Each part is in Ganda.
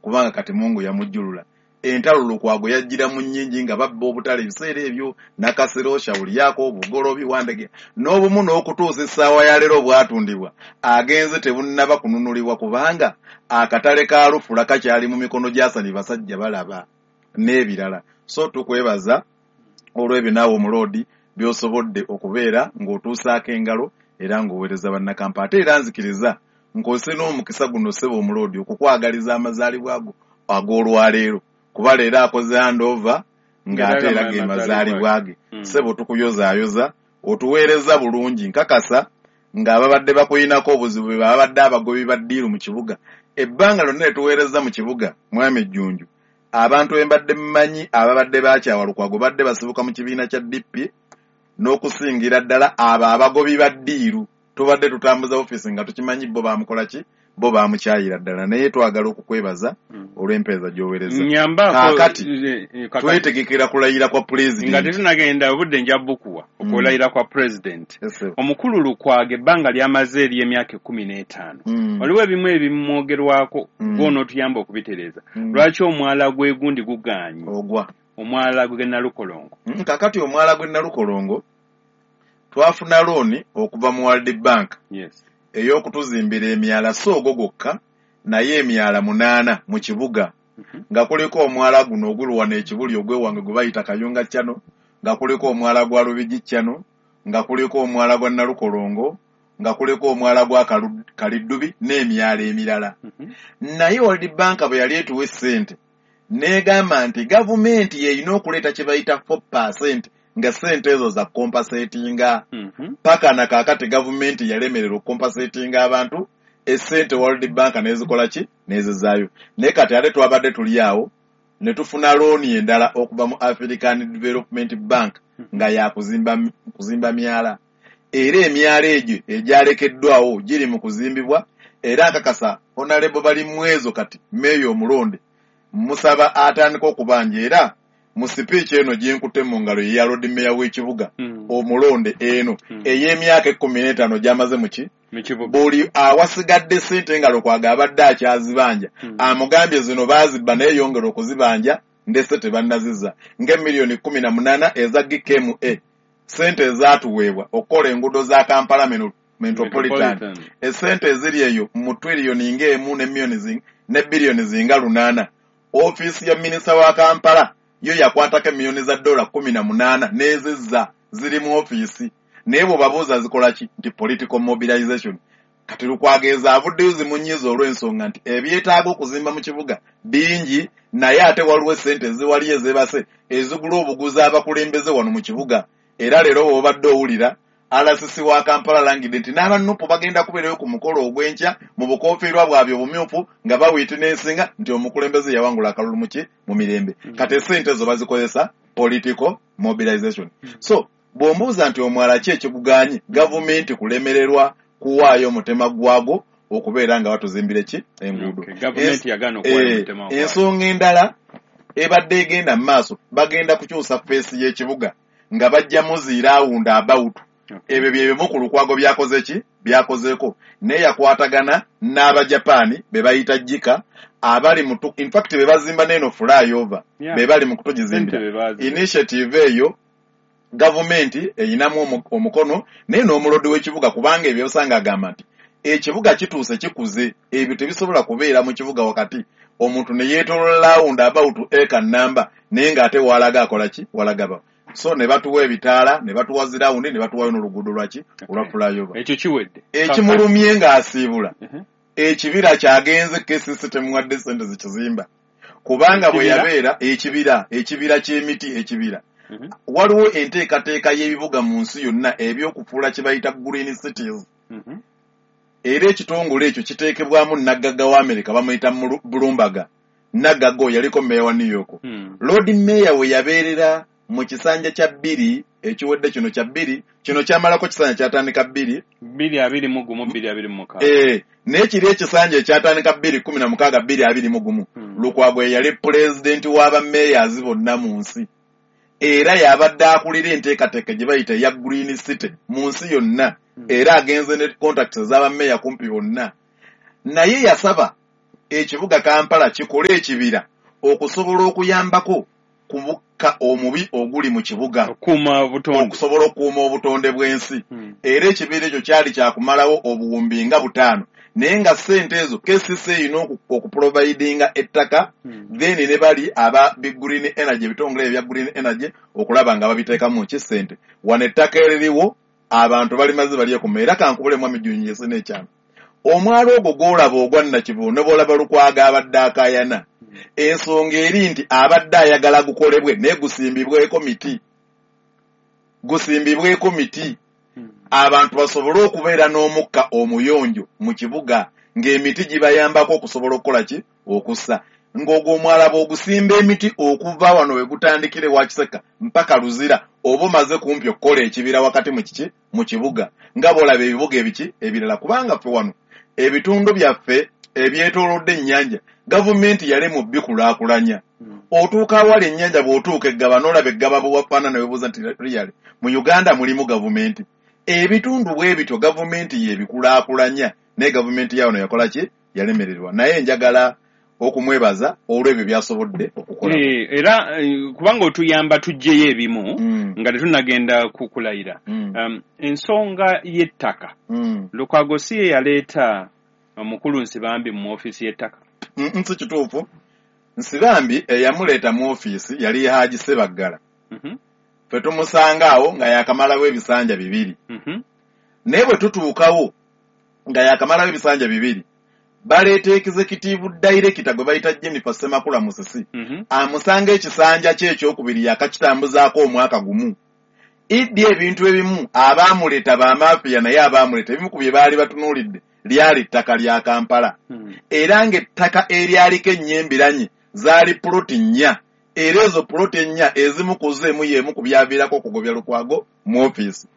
Kubanga kati Mungu yamujjulula. Entalo Lukwago yajjira mu nnyingi nga babba obutale ebiseera ebyo, Nakasero, Shawuliyako, Bugolobi, Wandege n'obumu, n'okutuusa essaawa ya leero bwatundibwa agenze tebunnaba kununulibwa, kubanga akatale ka Lufula kakyali mu mikono gy'Asani basajja balaba n'ebirala. So tukwebaza olw'ebyo naawe omuloodi by'osobodde okubeera ng'otuusaako engalo era ng'oweereza Bannakampala. Ate era nzikiriza nkozese n'omukisa guno, ssebo omuloodi, okukwagaliza amazaalibwa go ag'olwaleero, kuba leero akoze handover ng'ate era ge mazaalibwa ge. Ssebo, tukuyozaayoza, otuweereza bulungi. Nkakasa ng'ababadde bakuyinako obuzibu be babadde abagobi ba ddiiru mu kibuga. Ebbanga lyonna lye tuweereza mu kibuga, Mwami Jjunju, abantu be mbadde mmanyi ababadde bakyawa Lukwago badde basibuka mu kibiina kya DP, n'okusingira ddala abo abagobi ba ddiiru. Tubadde tutambuza ofiisi nga tukimanyi bo bamukola ki, bo bamukyayira ddala, naye twagala okukwebaza olw'empeereza gy'oweereza. Kaakati twetegekera kulayira kwa Nga pulezidenti. Tetunagenda, obudde nja bukuwa okulayira kwa pulezidenti. Omukulu Lukwago ebbanga lyamaze ery'emyaka 15, waliwo ebimu ebimwogerwako, gwonootuyamba okubitereeza. Lwaki omwala gw'egundi gugaanye? Ogwa Omwala gwe Nalukolongo. Kakati omwala gw'e Nalukolongo, twafuna looni okuva mu World Bank ey'okutuzimbira emyala, si ogwo gwokka, naye emyala 8 mu kibuga, nga kuliko omwala guno ogulwana ekibuli ogwewange gwe bayita Kayunga Channel, nga kuliko omwala gwa Lubigi Channel, nga kuliko omwala gwa Nalukolongo, nga kuliko omwala gwa Kaliddubi n'emyala emirala. Naye World Bank bwe yali etuwa essente, n'egamba nti gavumenti y'erina okuleeta kye bayita 4% nga ssente ezo za compensatinga. Paka na kaakati gavumenti yalemererwa okucompensatinga abantu. Essente World Bank n'ezikola ki, n'ezizaayo. Naye kati ate twabadde tuli awo ne tufuna looni endala okuva mu African Development Bank nga yakuzimba kuzimba myala, era emyala egyo egyalekeddwawo giri mu kuzimbibwa. Era nkakasa Honorable Balimwezo, kati meeya omulonde, musaba atandika okubanja, era mu sipiiki eno gyenkutte mu ngalo ye ya Lord Mayor w'ekibuga omulonde eno ey'emyaka 15 gy'amaze muki Mu kibuga. Buli awasigadde ssente nga Lukwago abadde akyazibanja, amugambye zino baazibba naye yongera okuzibanja, ndese tebannazizza, ng'emiliyoni 18 eza GKMA, ssente ezaatuweebwa okukola enguudo za Kampala Metropolitan. Essente eziri eyo mu triliyoni ng'emu ne miliyoni ne biliyoni zinga 8, ofiisi ya minisita wa Kampala yo yakwatako emiliyoni za dola 18 n'ezizza, ziri mu ofiisi, naye bw'obabuuza zikola ki, nti political mobilization. Kati Lukwago avuddeyo zimunyiiza olw'ensonga nti ebyetaaga okuzimba mu kibuga bingi, naye ate waliwo essente eziwaliyo ezeebase ezigula obuguzi abakulembeze wano mu kibuga. Era leero bw'obadde owulira RCC wa Kampala alangidde nti n'abanupu bagenda kubeerayo ku mukolo ogw'enkya mu bukofiirwa bwabwe obumyufu nga bawitinensinga nti omukulembeze yawangula akalulu muki mu mirembe. Kati essente ezo bazikozesa political mobilization. So bw'ombuuza nti omwala ki ekiguganye, gavumenti kulemererwa kuwaayo omutima gwagwo okubeera nga batuzimbire ki enguudo. Okay, gavumenti yagaana okuwaayo omutima gwayo. Ensonga endala ebadde egenda mu maaso, bagenda kukyusa face y'ekibuga nga bajjamu zi roundabout. Ebyo bye bimu ku Lukwago byakoze ki, byakozeeko, naye yakwatagana n'Abajapaani be bayita JICA abali mu in fact be bazimba n'eno flyover, be bali mu kutugizimbira. Ssente be baziwa. Initiative eyo gavumenti eyinamu omukono, naye n'omulodi w'ekibuga, kubanga ebyo osanga agamba nti ekibuga kituuse kikuze, ebyo tebisobola kubeera mu kibuga wakati, omuntu ne yeetolola roundabout eka namba, naye ng'ate walaga akola ki, walagaba. So ne batuwa ebitaala, ne batuwa zi round, ne batuwayo n'oluguudo lwaki olwa flyover. Ekyo kiwedde. Ekimulumye ng'asiibula, ekibira kyagenze KCC temuwadde ssente zikizimba, kubanga bwe Ekibira? yabeera ekibira ky'emiti, ekibira. Waliwo enteekateeka y'ebibuga mu nsi yonna ebyokufuula kye bayita green cities, era ekitongole ekyo kiteekebwamu naggagga wa Amerika bamuyita Bloomberg. Naggagga oyo yaliko meeya wa New York. Lord Mayor we yabeerera mu kisanja kya bbiri ekiwedde kino, kya bbiri kino kyamalako kisanja kyatandika bbiri 2021, 2026. Naye kiri ekisanja ekyatandika 2016, 2021, Lukwago ye yali pulezidenti w'abameeyazi bonna mu nsi, era yabadde akulira enteekateeka gye bayita eya green city mu nsi yonna, era agenze ne contacts ez'abameeya kumpi bonna. Naye yasaba ekibuga Kampala kikole ekibira okusobola okuyambako ku mukka omubi oguli mu kibuga, okusobola okukuuma obutonde bw'ensi. Era ekibira ekyo kyali kyakumalawo obuwumbi nga 5, naye nga ssente ezo KCCA erina okuprovidinga ettaka, then ne bali aba Big Green Energy, ebitongole ebya Green Energy, okulaba nga babiteekamu ki ssente. Wano ettaka eririwo abantu balimaze balyekuma. Era kankubule mwami Jjunju n'ekyama, omwalo ogwo gw'olaba ogwa Nakivubo ne bw'olaba Lukwago abadde akaayana, ensonga eri nti abadde ayagala gukolebwe naye gusimbibweko miti, gusimbibweko miti abantu basobole okubeera n'omukka omuyonjo mu kibuga, ng'emiti gibayambako okusobola okukola ki, okussa. Ng'ogwo omwala bw'ogusimba emiti okuva wano we gutandikire wa Kiseka mpaka Luzira, oba omaze kumpi okukola ekibira wakati mu kiki, mu kibuga, nga bw'olaba ebibuga ebiki ebirala. Kubanga ffe wano ebitundu byaffe ebyetoolodde ennyanja gavumenti yali mu bikulaakulanya. Otuuka awali ennyanja, bw'otuuka eggaba n'olaba eggaba bwe wafaanana, weebuuza nti really mu Uganda mulimu gavumenti? Ebitundu bwe bityo gavumenti yebikulaakulanya, naye gavumenti ya wano yakola ki, yalemererwa. Naye njagala okumwebaza olw'ebyo by'asobodde okukola. Era kubanga otuyamba tuggyeyo ebimu nga tetunnagenda kukulayira. Ensonga y'ettaka, Lukwago si ye yaleeta omukulu Nsibambi mu ofiisi y'ettaka? Nsi kituufu. Nsibambi eyamuleeta mu ofiisi yali Haji Sebaggala. Ffe tumusanga awo nga yakamalawo ebisanja 2. Naye bwe tutuukawo nga yakamalawo ebisanja 2, baleeta executive director gwe bayita Jennifer Ssemakula Musisi. Amusanga ekisanja kye ekyokubiri yakakitambuzaako omwaka gumu. Iddi ebintu ebimu abaamuleeta bamafiya, naye abaamuleeta ebimu ku bye baali batunuulidde lyali ttaka lya Kampala. Era ng'ettaka eryaliko ennyembiranye zaali puloti 4, era ezo puloti 4 ezimu ku zo emu y'emu ku byaviirako okugobya Lukwago mu ofiisi.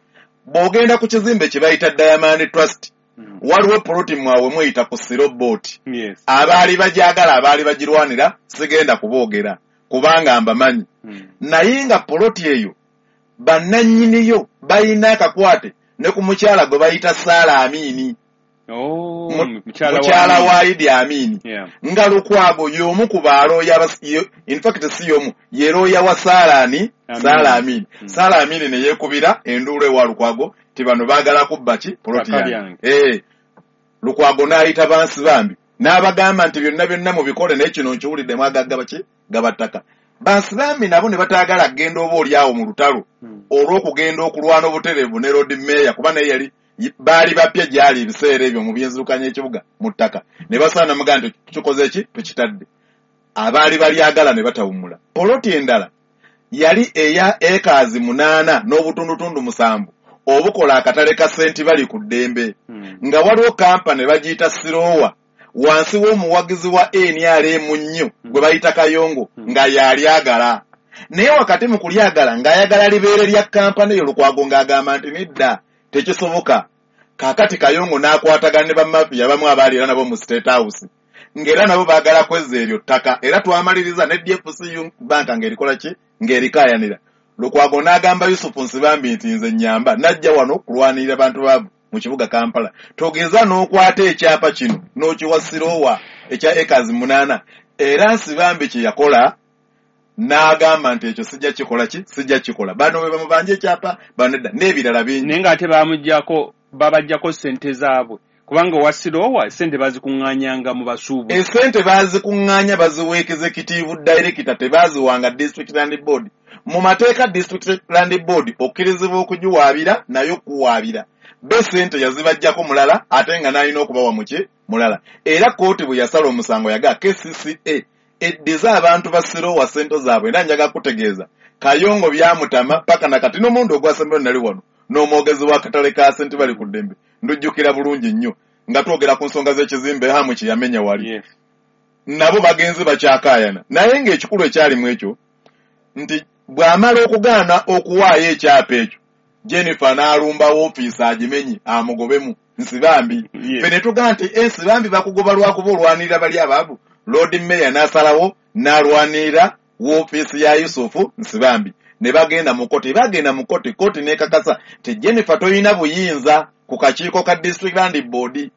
Bw'ogenda ku kizimbe kye bayita Diamond Trust, waliwo puloti mwawe mweyita ku Sirobot. Abaali bagyagala, abaali bagirwanira, sigenda kuboogera kubanga mbamanyi. Naye nga puloti eyo bannannyiniyo balina akakwate ne ku mukyala gwe bayita Saala Amini. Mukyala wa Idi Amini. Nga Lukwago y'omu ku balooya, in fact si y'omu, ye looya wa Saala Saala Amini. Saala Amini ne yeekubira enduulu ewa Lukwago ti bano baagala kubba ki, puloti yange. Lukwago n'ayita Bansibambi n'abagamba nti byonna byonna mubikole, naye kino nkiwulidde mwagagga ki gabattaka. Bansibambi nabo ne bataagala kugenda oba oli awo mu lutalo olw'okugenda okulwana obutereevu ne Lord Mayor, kuba naye yali baali bapya gyali ebiseera ebyo mu byenzirukanya ekibuga mu ttaka. Ne basaana mugamba nti tukikoze ki, tukitadde. Abaali balyagala ne batawummula. Poloti endala yali eya ekaazi 8 n'obutundutundu 7 obukola akatale ka senti bali ku ddembe, nga waliwo kampani bagiyita Sirowa wansi w'omuwagizi wa NRM nnyo gwe bayita Kayongo, nga yalyagala. Naye wakati mu kulyagala ng'ayagala libeere lya kampani eyo, Lukwago ng'agamba nti nedda, tekisoboka. Kaakati Kayongo n'akwatagana ne bamafiya abamu abaali era nabo mu State House, ng'era nabo baagala kwezza eryo ttaka. Era twamaliriza ne DFCU Bank ng'erikola ki, ng'erikaayanira. Lukwago n'agamba Yusufu Nsibambi nti nze nnyamba, najja wano kulwanirira bantu baavu mu kibuga Kampala, togeza n'okwata ekyapa kino n'okiwa Sirowa ekya ekazi 8. Era Nsibambi kye yakola n'agamba nti ekyo sijja kikola ki, sijja kikola. Bano bwe bamubanja ekyapa, bano nedda, n'ebirala bingi. Naye ng'ate bamuggyako, babaggyako ssente zaabwe, kubanga owa Sirowa ssente bazikuŋŋaanyanga mu basuubuzi. Essente bazikuŋŋaanya baziwa executive director, tebaziwanga district land board. Mu mateeka district land board okkirizibwa okugiwaabira naye okuwaabira be ssente yazibaggyako mulala, ate nga n'alina okubawa muki mulala. Era kkooti bwe yasala omusango yaga KCCA eddize abantu ba Sirowa ssente zaabwe. Era njagala kutegeeza Kayongo byamutama paka nakati. N'omulundi ogwasembayo nali wano n'omwogezi w'akatale ka sente bali ku ddembe, ndujjukira bulungi nnyo nga twogera ku nsonga z'ekizimbe Hamu kye yamenya wali. Nabo bagenze bakyakaayana. Naye ng'ekikulu ekyalimu ekyo nti bw'amala okugaana okuwaayo ekyapa ekyo, Jennifer n'alumba woofiisi agimenye amugobemu Nsibambi. Ffe ne tugamba nti Nsibambi bakugoba lwakuba olwanirira bali abaavu. Lord Mayor n'asalawo n'alwanirira woofiisi ya Yusufu Nsibambi. Ne bagenda mu kkooti, bagenda mu kkooti, kkooti n'ekakasa nti Jennifer toyina buyinza ku kakiiko ka District Land Board.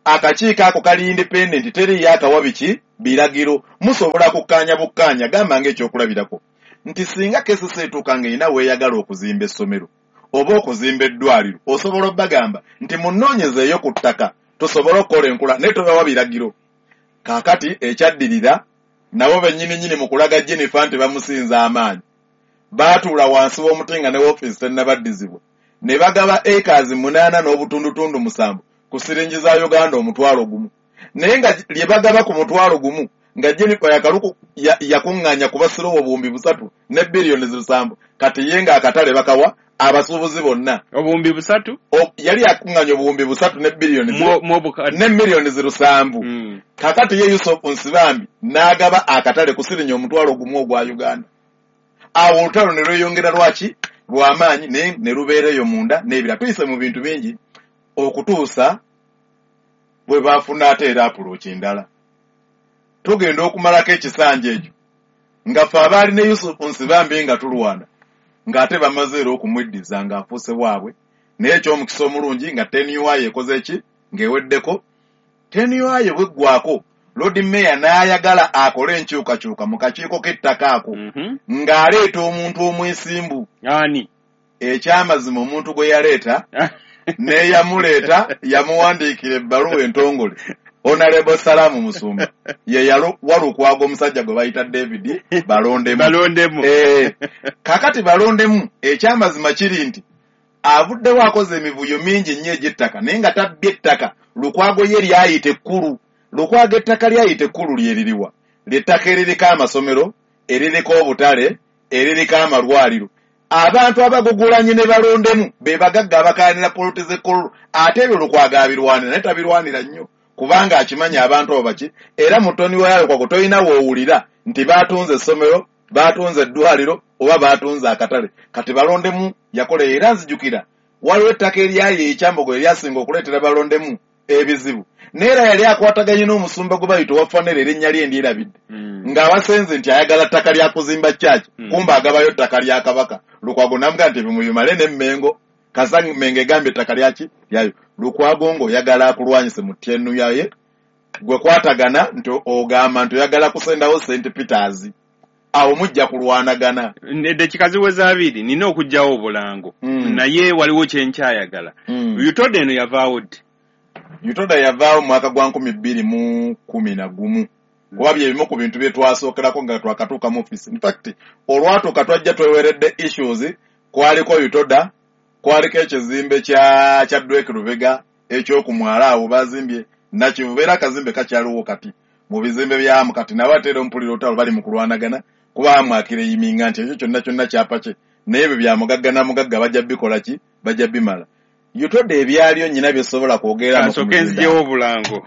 Akakiiko ako kali independent, teriiyo akawa biki biragiro, musobola kukkaanya bukkaanya. Gamba ng'ekyokulabirako nti singa KCC etuuka ng'erina weeyagala okuzimba essomero oba okuzimba eddwaliro, osobola obbagamba nti munoonyezeeyo ku ttaka tusobole okukola enkula, naye tobawa biragiro. Kaakati ekyaddirira, nabo bennyini nnyini mu kulaga Jennifer nti bamusinza amaanyi, baatuula wansi w'omuti nga ne woofiisi tennabaddizibwa, ne bagaba acres 8.7 ku siringi za Uganda 10,000, naye nga lye bagaba ku 10,000 nga Jennifer yakaluku yakuŋŋaanya ku basirowo 3,000 ne biliyoni 7. Kati ye ng'akatale bakawa abasuubuzi bonna 3,000, yali yakuŋŋaanya 3,000 ne biliyoni ne miliyoni 7. Kakati ye Yusuf Nsibambi n'agaba akatale ku siringi 10,000 ogwa Uganda. Awo olutalo ne lweyongera lwaki lw'amaanyi, naye ne lubeera eyo munda n'ebira. Tuyise mu bintu bingi okutuusa bwe baafuna ate era apuloki endala. Tugenda okumalako ekisanja ekyo nga ffe abaali ne Yusuf Nsibambi nga tulwana, ng'ate bamaze era okumweddiza ng'afuuse waabwe. Naye eky'omukisa omulungi nga tenure ekoze ki, ng'eweddeko. Tenure bweggwako, Lord Mayor n'ayagala akole enkyukakyuka mu kakiiko k'ettaka ako, ng'aleeta omuntu omwesimbu. Ani? Ekyamazima omuntu gwe yaleeta n'eyamuleeta yamuwandiikira ebbaluwa entongole. Honorable Salamu Musumba ye Walukwago, omusajja gwe bayita David Balondemu. Balondemu. Kakati Balondemu, ekyamazima kiri nti avuddewo akoze emivuyo mingi nnyo egy'ettaka, naye nga tabbye ettaka Lukwago ye lyayita ekkulu. Lukwago ettaka lyayita ekkulu lyeririwa? Lyettaka eririko amasomero, eririko obutale, eririko amalwaliro. Abantu abagugulanye ne Balondemu be bagagga abakaanira poloti z'ekkololo, ate ebyo Lukwago abirwanira, naye tabirwanira nnyo kubanga akimanya abantu abo baki. Era mutoni wa Lukwago tolina woowulira nti baatunze essomero, baatunze eddwaliro oba baatunze akatale. Kati Balondemu yakola, era nzijukira waliwo ettaka eryali ekyambogo eryasinga okuleetera Balondemu ebizibu, naye era yali akwataganye n'omusumba gwe bayita owa Fanere, erinnya lye ndyerabidde, ng'abasenze nti ayagala ttaka lya kuzimba church, kumba agabayo ttaka lya Kabaka. Lukwago n'amugamba nti bimubimale n'Emmengo, kasa Mmengo egambye ettaka lyaki lyayo. Lukwago ng'oyagala akulwanyise mu tenure ye, gwe kwatagana nti ogamba nti oyagala kusendawo St Peters, awo mujja kulwanagana. Eddakiika ziweza 2, nina okuggyawo obulango, naye waliwo kyenkyayagala. UTODA eno yavaawo ddi? UTODA yavaawo mu mwaka gwa 2011, kuba bye bimu ku bintu bye twasookerako nga twakatuuka mu office. In fact, olwatuuka twajja tweweredde issues, kwaliko UTODA, kwaliko ekizimbe kya Drake Lubega ekyokumwala awo bazimbye Nakivubo, era akazimbe kakyaliwo kati mu bizimbe byamu. Kati nabo ate era ompulira olutalo bali mu kulwanagana, kuba amwakireyiminga nti ekyo kyonna kyonna kyapa kye, naye ebyo bya mugagga na mugagga, bajja bikola ki, bajja bimala. UTODA ebyaliyo nnyina bye sobola kwogera. Nsooke nzigyewo obulango.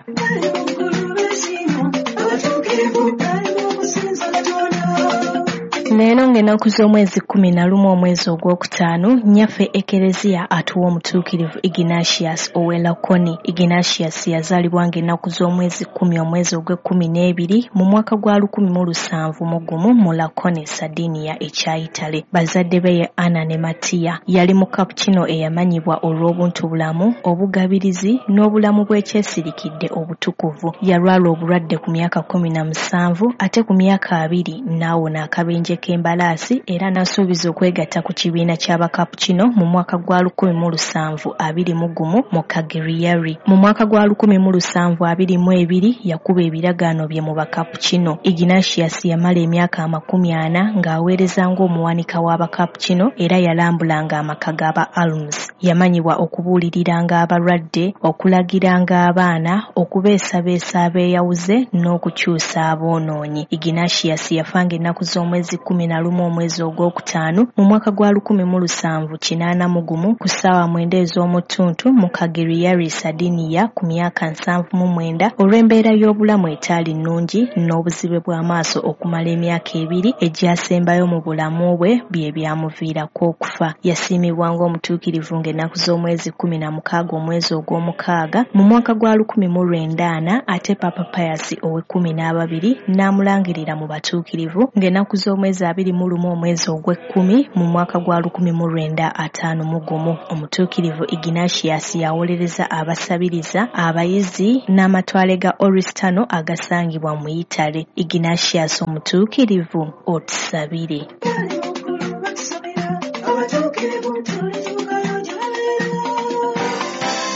Leero ng'ennaku z'omwezi 11 omwezi ogwokutaano, nnyaffe Ekereziya atuwa omutuukirivu Ignatius ow'e Lakoni. Ignatius yazaalibwa ng'ennaku z'omwezi 10 omwezi ogw'e-12 mu mwaka gwa 1701 mu Lakoni, Sardinia ekya Italy. Bazadde be ye Anna ne Mattia. Yali Mukapucino eyamanyibwa olw'obuntubulamu, obugabirizi n'obulamu bw'ekyesirikidde obutukuvu. Yalwala obulwadde ku myaka 17, ate ku myaka 20 n'awona akabenje k'embalaasi, era n'asuubiza okwegatta ku kibiina ky'Abakapucino mu mwaka gwa 1721 mu Cagliari. Mu mwaka gwa 1722 yakuba ebiragaano bye mu Bakapucino. Ignatius yamala emyaka 40 ng'aweereza ng'omuwanika w'Abakapucino, era yalambulanga amaka g'aba Alms. Yamanyibwa okubuuliriranga abalwadde, okulagiranga abaana, okubeesabeesa abeeyawuze n'okukyusa aboonoonyi. Ignatius yafanga ennaku z'omwezi 11 omwezi ogwokutaano mu mwaka gwa 1781 ku ssaawa 9 ez'omuttuntu mu Cagliari, Sardinia, ku myaka 79 olw'embeera y'obulamu etaali nnungi n'obuzibe bw'amaaso okumala emyaka 2 egyasembayo mu bulamu bwe bye byamuviirako okufa. Yasiimibwa ng'omutuukirivu ng'ennaku z'omwezi 16 omwezi ogw'omukaaga mu mwaka gwa 1940, ate Papa Pius ow'e-12 n'amulangirira mu batuukirivu ng'ennaku z'omwezi 21 omwezi ogw'ekkumi mu mwaka gwa 1951. Omutuukirivu Ignatius yawolereza abasabiriza, abayizi n'amatwale ga Oristano agasangibwa mu Italy. Ignatius omutuukirivu, otusabire.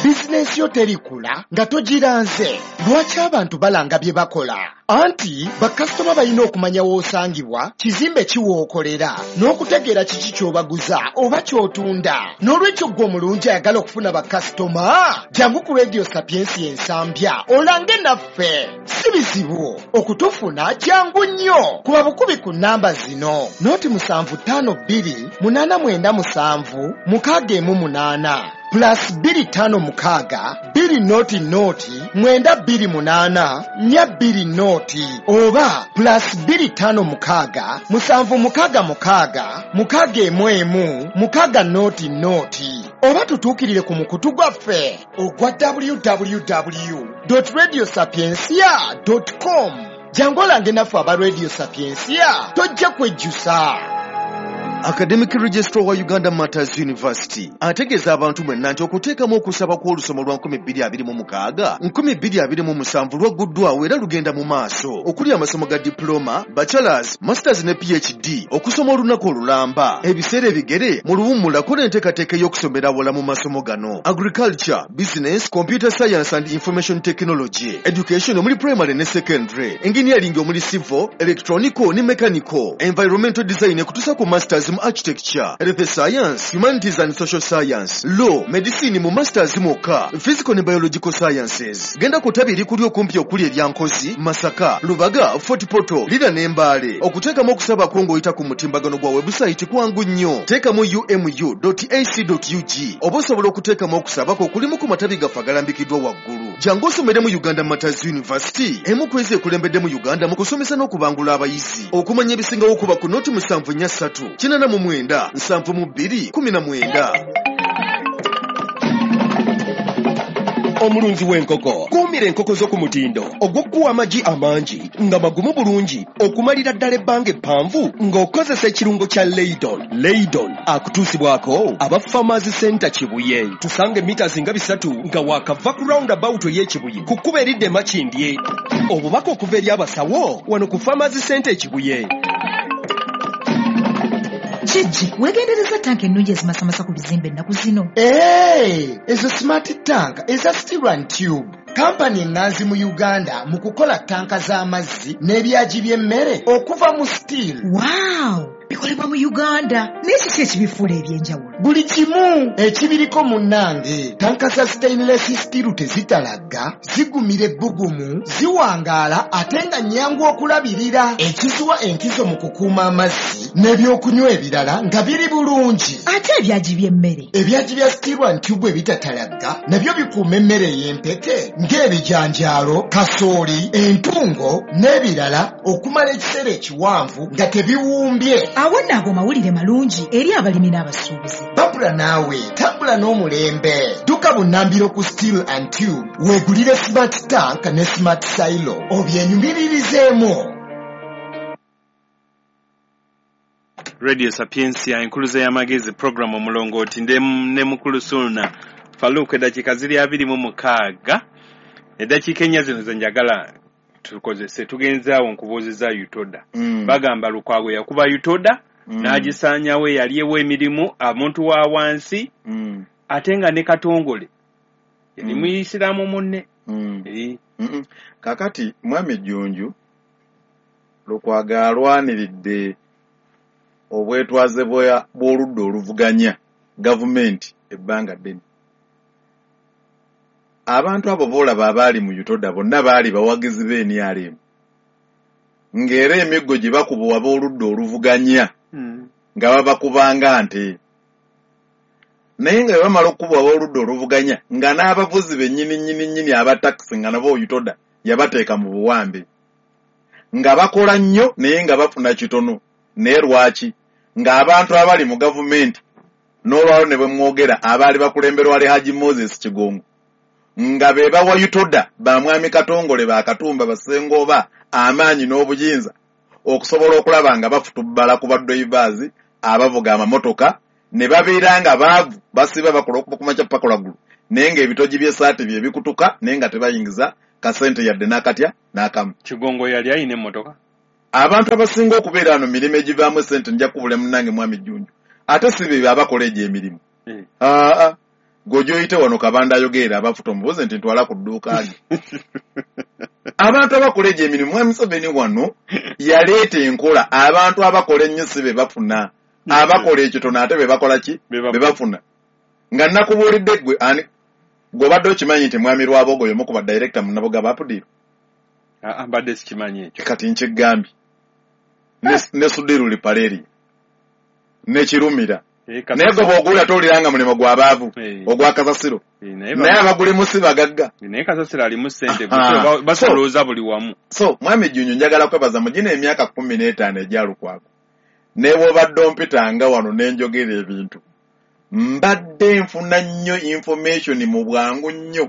Bizinensi yo terikula nga togiranze. Lwaki abantu balanga bye bakola? Anti bakasitoma balina okumanya w'osangibwa, kizimbe ki w'okolera, n'okutegeera kiki ky'obaguza oba ky'otunda. N'olwekyo ggwe omulungi ayagala okufuna bakasitoma, jangu ku Radio Sapiensia Ensambya olange naffe. Si bizibu okutufuna, jangu nnyo. Kuba bukubi ku nnamba zino: 0752 897 618 plus 256 200 928 420 oba plus 256 766 611 600, oba tutuukirire ku mukutu gwaffe ogwa www.radiosapiencia.com. Jangu olange naffe aba Radio Sapiensia, tojja kwejjusa. Academic Registrar wa Uganda Matters University ategeeza abantu mwenna nti okuteekamu okusaba kw'olusoma lwa 2026 2027 lwagguddwawo era lugenda mu maaso, okuli amasomo ga diploma, bachelors, masters ne PhD, okusoma olunaku olulamba, ebiseera ebigere mu luwummulako n'enteekateeka ey'okusomera awala mu masomo gano: agriculture, business, computer science and information technology, education omuli primary ne secondary, engineering omuli civil, electronical ne mechanical, environmental design kutuusa ku masters mu architecture, health science, humanities and social science, law, medicine mu masters mwokka, physical ne biological sciences. Genda ku ttabi erikuli okumpi okuli erya Nkozi, Masaka, Lubaga, Fort Portal, Lira ne Mbale. Okuteekamu okusaba kwo ng'oyita ku mutimbagano gwa website kwangu nnyo. Teekamu umu.ac.ug oba osobola okuteekamu okusaba kwo okulimu ku matabi gaffe agalambikiddwa waggulu. Jangu osomere mu Uganda Matters University, emu ku ezo ekulembedde mu Uganda mu kusomesa n'okubangula abayizi. Okumanya ebisingawo kuba ku 0743 89 72 19. Omulunzi w'enkoko, kuumira enkoko zo ku mutindo ogw'okuwa amagi amangi nga magumu bulungi okumalira ddala ebbanga eppanvu ng'okozesa ekirungo kya Leydon. Leydon akutuusibwako aba Farmers Center Kibuye. Tusanga emita nga 3 nga waakava ku roundabout ey'Ekibuye ku kkubo eridda e Makindye. Obubaka okuva eri abasawo wano ku Farmers Center Ekibuye. Kijji, weegendereza tanka ennungi ezimasamasa ku bizimbe ennaku zino. Ezo smart tank eza steel and tube. Kampani ennanzi mu Uganda mu kukola tanka z'amazzi n'ebyagi by'emmere okuva mu steel. Wow! Bikolebwa mu Uganda. Naye kiki ekibifuula eby'enjawulo? Buli kimu ekibiriko munnange. Tanka za stainless steel tezitalagga, zigumira ebbugumu, ziwangaala ate nga nnyangu okulabirira. Ekiziwa enkizo mu kukuuma amazzi n'ebyokunywa ebirala nga biri bulungi. Ate ebyagi by'emmere? Ebyagi bya steel and tube ebitatalagga nabyo bikuuma emmere ey'empeke ng'ebijanjaalo, kasooli, entungo n'ebirala okumala ekiseera ekiwanvu nga tebiwumbye. Awo nno ago mawulire malungi eri abalimi n'abasuubuzi. Babula naawe, tambula n'omulembe. Dduka bunnambiro ku Steel and Tube, weegulire smart tank ne smart silo obyenyumiririzeemu. Radio Sapiensia enkuluze y'amagezi, program omulongooti ne mukulu Sulna Farouk. Eddakiika ziri 26, eddakiika ennya zino ze njagala tukozese. Tugenze awo nkubuuziza UTODA. Bagamba Lukwago yakuba UTODA n'agisaanyawo, eyali ewa emirimu omuntu wa wansi, ate nga ne Katongole yali muyisiraamu munne. Kakati mwami Jjunju, Lukwago alwaniridde obwetwaze bw'oludda oluvuganya gavumenti ebbanga ddene. Abantu abo boolaba abaali mu UTODA bonna baali bawagizi b'NRM, ng'era emiggo gye bakuba ab'oludda oluvuganya nga babakubanga nte, naye nga bwe bamala okukuba ab'oludda oluvuganya nga n'abavuzi bennyini nnyini nnyini aba takisi nga nabo UTODA yabateeka mu buwambe, nga bakola nnyo naye nga bafuna kitono. Naye lwaki ng'abantu abali mu gavumenti n'olwalo ne bwe mwogera abaali bakulemberwa Alhaji Moses Kigongo nga be bawa UTODA ba mwami Katongole, ba Katumba, Basengooba amaanyi n'obuyinza Okusobola okulaba nga bafutubbala ku badroivers abavuga amamotoka ne babeera nga baavu, basiba bakola okuva ku makya paka lwaggulu, naye ng'ebitogi by'essaati bye bikutuka, naye nga tebayingiza kasente yadde n'akatya n'akamu. Kigongo yali ayina emmotoka? Abantu abasinga okubeera wano mirimu egivaamu essente, nja kukubula munnange mwami Jjunju, ate si be abakola egyo emirimu. Aa, gwe wano Kabanda ayogerera abafuta, omubuuze nti ntwala ku dduuka lye. Abantu abakola egyo emirimu, mwami Museveni wano yaleeta enkola, abantu abakola ennyo si be bafuna, abakola ekitono ate be bakola ki? Be bafuna. Nga nakubuulidde ggwe ani gw'obadde okimanyi nti mwami Rwabogo y'omu ku badirekita mu Nabugabo APDIRU? Aa, mbadde sikimanyi ekyo. Kati nkigambye ne Sudiru Lipaleri ne Kirumira, naye gwe bw'oguwulira towulira nga mulimu gw'abaavu ogwa kasasiro, naye abagulimu si bagagga. Naye kasasiro alimu ssente, basolooza buli wamu. So mwami Jjunju, njagala kwebaza mu gino emyaka 15 egya Lukwago, ne bw'obadde ompitanga wano ne njogera ebintu, mbadde nfuna nnyo information mu bwangu nnyo,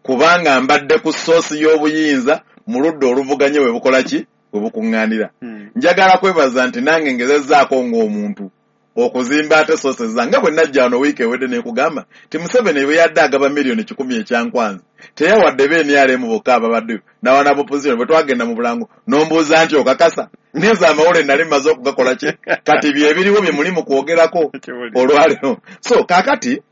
kubanga mbadde ku source y'obuyinza mu ludda oluvuganye we bukola ki, we bukuŋŋaanira. Njagala kwebaza nti nange ngezezzaako ng'omuntu okuzimba ate sources zange, nga bwe najja wano wiiki ewedde nekugamba nti Museveni bwe yadde agaba 100,000,000 ekyankwanzi, teyawadde be NRM bokka ababaddeyo nawana opposition. Bwe twagenda mu bulango n'ombuuza nti okakasa, nenze amawulire nali mmaze okugakola ki, kati byebiriwo bye muli mu kwogerako olwaleero. So kaakati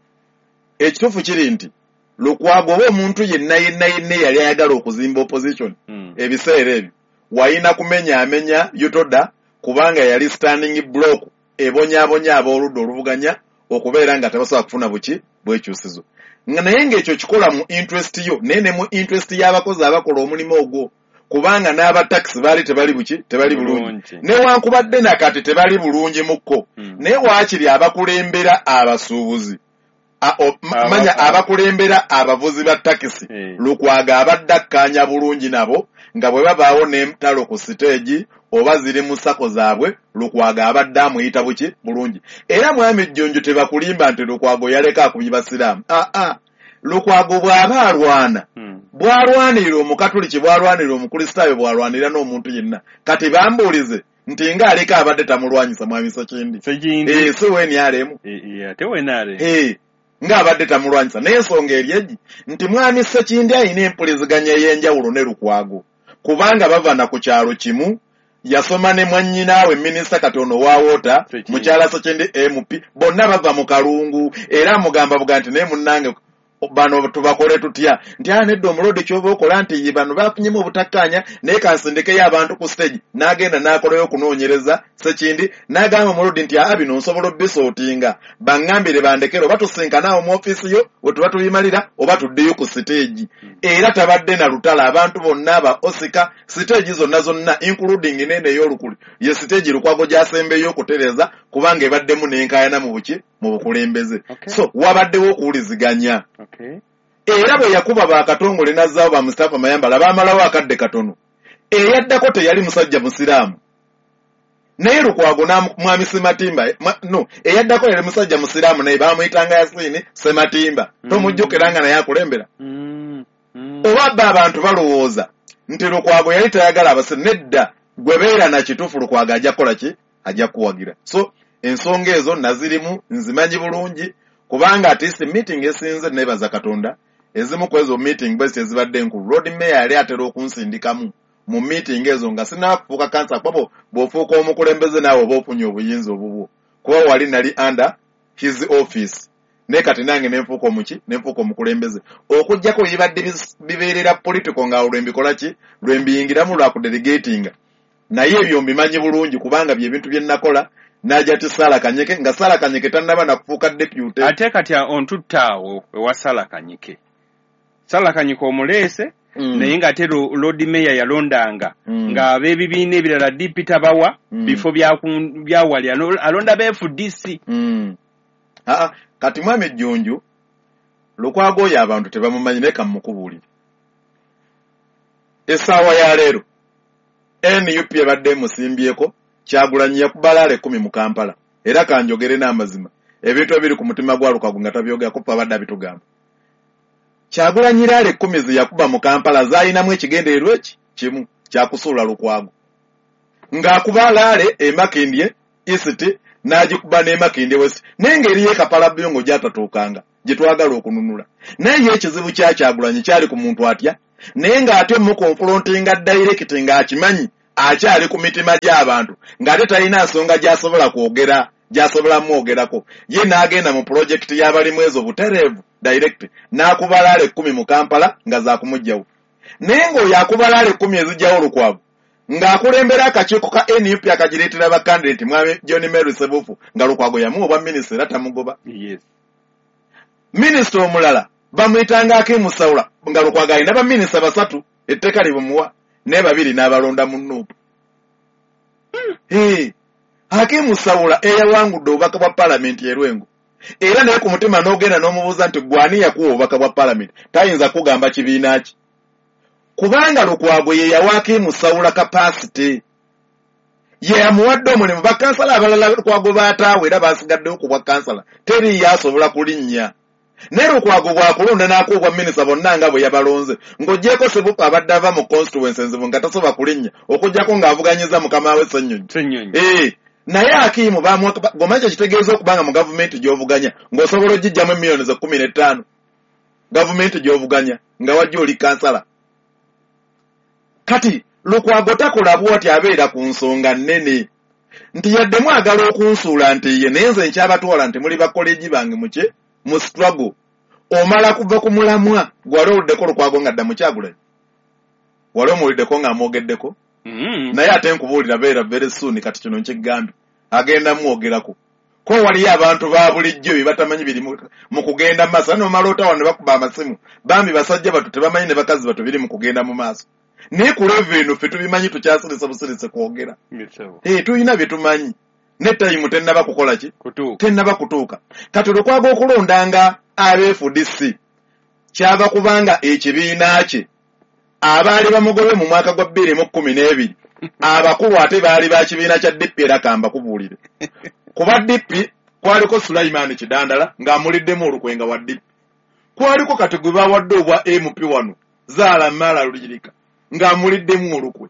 ekituufu kiri nti Lukwago oba omuntu yenna yenna yenna eyali ayagala okuzimba opposition ebiseera ebyo wayina kumenyaamenya UTODA, kubanga yali standing block ebonyaabonya ab'oludda oluvuganya okubeera nga tebasobola kufuna buki bwekyusizo. Naye ng'ekyo kikola mu interest yo, naye ne mu interest y'abakozi abakola omulimu ogwo, kubanga n'abatakisi baali tebali buki, tebali bulungi, newankubadde nakati tebali bulungi mukko, naye waakiri abakulembera abasuubuzi, manya abakulembera abavuzi ba takisi, Lukwago abadde akkaanya bulungi nabo, nga bwe babaawo n'entalo ku siteegi oba ziri mu SACCO zaabwe, Lukwago abadde amuyita buki, bulungi. Era mwami Jjunju, tebakulimba nti Lukwago yaleka akubye basiraamu. Aa, Lukwago bw'aba alwana, bw'alwanirira omukatuliki, bw'alwanirira omukristaayo, bw'alwanirira n'omuntu yenna. Kati bambuulize nti nga aleka abadde tamulwanyisa mwami Sekindi, si wenyalemu ng'abadde tamulwanyisa? Naye ensonga eri egi nti mwami Sekindi alina empuliziganya ey'enjawulo ne Lukwago, kubanga bava na ku kyalo kimu, yasoma ne mwannyinaawe minisita kati ono wa water, mukyala Sekindi MP, bonna bava mu Kalungu. Era amugamba buga nti naye munnange bano tubakole tutya? Nti aa, nedda, omulodi kyoba okola nti ye bano bafunyemu obutakkaanya, naye kansindekeyo abantu ku stage. N'agenda n'akolayo okunoonyereza Sekindi, n'agamba omulodi nti aa, bino nsobola obisortinga, baŋŋambire bandekere, oba tusinkane awo mu ofiisi yo we tuba tubimalira, oba tuddeyo ku siteegi. Era tabadde na lutalo, abantu bonna aba osika siteegi zonna zonna, including nene ey'olukuli ye siteegi Lukwago gy'asembeyo okutereeza, kubanga ebaddemu n'enkaayana mu buki, mu bukulembeze. So wabaddewo okuwuliziganya. Era bwe yakuba bakatongole n'azzaawo ba Mustapha Mayambala, baamalawo akadde katono, eyaddako teyali musajja musiraamu, naye Lukwago mwami Sematimba no eyaddako yali musajja musiraamu, naye bamuyitanga Yasiini Sematimba. Tomujjukira nga naye akulembera? Oba bba abantu balowooza nti Lukwago yali tayagala abasiraamu? Nedda, gwe beera na kituufu, Lukwago ajja kukola ki, ajja kuwagira. So ensonga ezo nazirimu, nzimanyi bulungi, kubanga at least meeting esinze, nebaza Katonda, ezimu ku ezo meeting bwe ziti ezibadde enkulu, Lord Mayor yali atera okunsindikamu mu meeting ezo nga sinaakufuuka kansa, kuba bw'ofuuka omukulembeze naawe oba ofunye obuyinza obubwo, kuba wali nali under his office, naye kati nange nenfuuka omuki, nenfuuka omukulembeze, okuggyako bibadde bibeerera political nga lwe mbikola ki, lwe mbiyingiramu lwa kudelegatinga. Naye ebyo mbimanyi bulungi, kubanga byebintu bye nakola n'ajja ti Sala Kanyike, nga Sala Kanyike tannaba nakufuuka deputy. Ate kati ontutta awo ewa Sala Kanyike. Sala Kanyike omuleese, naye ng'ate Lord Mayor yalondanga ng'ab'ebibiina ebirala DP tabawa bifo byawali, alonda ba FDC. Aa, kati mwami Jjunju, Lukwago oyo abantu tebamumanyi, naye kamukubuulire. Essaawa ya leero NUP ebadde emusimbyeko. Kyagulanyi yakuba rally 10 mu Kampala, era kanjogere n'amazima, ebintu ebiri ku mutima gwa Lukwago nga tabyogerako, fe abadde abitugamba. Kyagulanyi rally 10 ze yakuba mu Kampala zaalinamu ekigendererwa eki kimu, kyakusuula Lukwago. Ng'akuba laale e Makindye East n'agikuba n'e Makindye West, naye ng'eriyo e Kapalabyongo gy'atatuukanga gye twagala okununula. Naye ye ekizibu kya Kyagulanyi kyali ku muntu atya, naye ng'ate mukonfrontinga direct ng'akimanyi akyali ku mitima gy'abantu, ng'ate talina nsonga gy'asobola kwogera, gy'asobola mwogerako. Ye n'agenda mu pulojekiti y'Abalimwezo butereevu direct n'akuba laale 10 mu Kampala nga za kumuggyawo. Naye ng'oyo akuba laale 10 ezijjawo Lukwago, ng'akulembera akakiiko ka NUP akagireetera bakandidate mwami John Mary Sebufu, nga Lukwago yamuwa obwa minisita era tamugoba. Yes. Minisita omulala bamuyitanga Akim Saula, nga Lukwago alina baminisita 3 etteeka libumuwa, naye 2 n'abalonda mu NUP. Akim Saula eyawangudde obubaka bwa paalamenti e Lwengo, era naye ku mutima n'ogenda n'omubuuza nti ggwe ani yakuwa obubaka bwa paalamenti, tayinza kugamba kibiina ki, kubanga Lukwago ye yawa Akim Saula capacity, ye yamuwadde omulimu. Bakansala abalala Lukwago baataawe era basigaddewo ku bwa kansala, teriiyo asobola kulinnya. Naye Lukwago bw'akulonda n'akuwa obwa minisita bonna nga bwe yabalonze, ng'oggyeko Sebufu abadde ava mu constituency enzibu nga tasobola kulinnya, okuggyako ng'avuganyiza mukama we Ssennyonyi. Naye Akimu gomanyi kye kitegeeza okubanga mu gavumenti gy'ovuganya ng'osobola ogiggyamu emiliyoni ze 15, gavumenti gy'ovuganya nga wajja oli kansala. Kati Lukwago takola bw'ati, abeera ku nsonga nnene nti yadde mwagala okunsuula nti ye, naye nze nkyabatwala nti muli bakoleegi bange muke mu struggle. Omala kuva ku mulamwa gwali owuliddeko Lukwago nga dda mu Kyagulanyi, wali omuwuliddeko ng'amwogeddeko? Naye ate nkubuulira beera very soon, kati kino nkigambye agenda mwogerako. Ko waliyo abantu ba bulijjo bye batamanyi biri mu kugenda mu maaso, nomala otawa ne bakuba amasimu, bambi basajja bato tebamanyi ne bakazi bato biri mu kugenda mu maaso. Naye ku level eno ffe tubimanyi, tukyasirise busirise kwogera. Tulina bye tumanyi, ne tayimu tennaba kukola ki? Tennaba kutuuka. Kati Lukwago okulondanga ab'FDC kyava kubanga ekibiina kye abaali bamugobe mu mwaka gwa 2012 abakulu ate baali ba kibiina kya DP, era kamba kubuulire. Kuba DP kwaliko Sulaiman Kidandala ng'amuliddemu olukwe nga wa DP. Kwaliko kati gwe bawadde obwa MP wano Zaala Mala Luyirika ng'amuliddemu olukwe.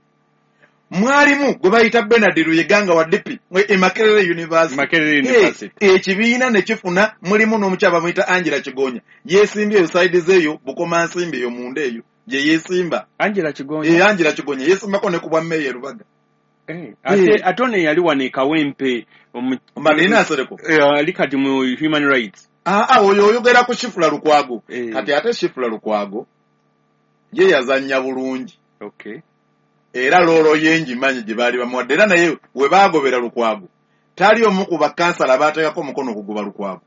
Mwalimu gwe bayita Bernard Luyega nga wa DP e Makerere University. Ekibiina ne kifuna mulimu n'omukyala bamuyita Angela Kigonya, yeesimbye eyo saidi zeeyo Bukomansimbi eyo munda eyo gye yeesimba. Angela Kigonya. Angela Kigonya yeesimbako ne ku bwa mmeeya e Lubaga. Ate ono yali wano e Kawempe Marina Nsereko ali kati mu human rights. Oyo oyogera ku Shifula Lukwago. Kati ate Shifula Lukwago ye yazannya bulungi. Okay. Era loolo ye ngimanyi gye baali bamuwadde, era naye we baagobera Lukwago tali omu ku bakansala baateekako omukono okugoba Lukwago,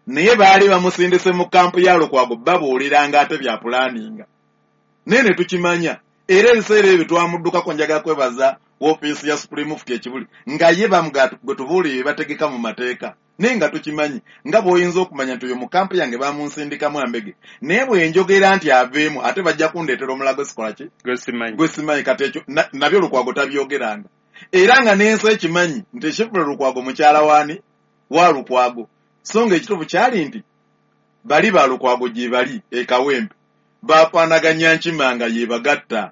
naye baali bamusindise mu kampu ya Lukwago babuuliranga ate bya pulaninga, naye ne tukimanya. Era ebiseera ebyo twamuddukako, njagala kwebaza woofiisi ya Supreme Mufti e Kibuli nga ye gwe tubuulire bategeka mu mateeka, naye nga tukimanyi nga bw'oyinza okumanya nti oyo mu kampu yange bamunsindikamu ambege, naye bwe njogera nti aveemu ate bajja kundeetera omulago sikola ki gwe simanyi. Kati ekyo nabyo Lukwago tabyogeranga, era nga n'ensi ekimanyi nti Shifula Lukwago mukyala waani wa Lukwago. So nga ekituufu kyali nti bali ba Lukwago gye bali e Kawempe bafaanaganya nkima nga ye bagatta,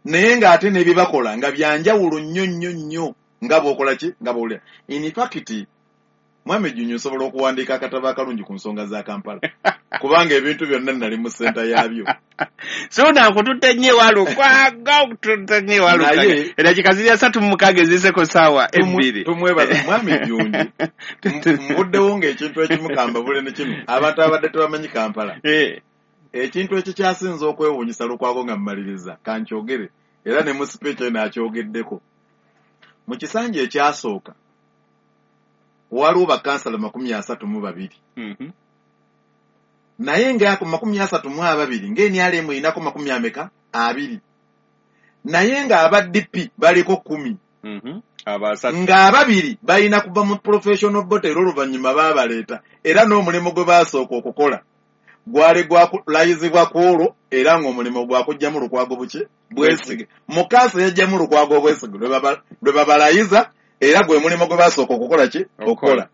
naye ng'ate ne bye bakola nga byanjawulo nnyo nnyo nnyo nga bw'okola ki nga bw'owulira. In fact, Mwami Jjunju nsobola okuwandiika akatabo akalungi ku nsonga za Kampala, kubanga ebintu byonna nali mu ssenta yaabyo. So nakututte nnyo ewa Lukwago, okututte nnyo ewa Lukwago. Eddakiika ziri 36 eziseko ssaawa 2. Tumwebaza Mwami Jjunju. Mbuddewo ng'ekintu ekimu kambabule ne kimu, abantu abadde tebamanyi Kampala. Ekintu ekikyasinze okwewuunyisa Lukwago nga mmaliriza kankyogere, era ne mu speech eno akyogeddeko. Mu kisanja ekyasooka waliwo bakansala 32. Naye nga ku 32 ng'NRM erinako 20, naye ng'aba DP baliko 10. Ng'ababiri balina kuva mu professional body, era oluvannyuma baabaleeta, era n'omulimu gwe baasooka okukola gwali gwakulayizibwa ku olwo, era ng'omulimu gwakuggyamu Lukwago buki bwesige. Mu kanso yajjamu Lukwago obwesige lwe babalayiza, era gwe mulimu gwe basooka okukola ki okukola.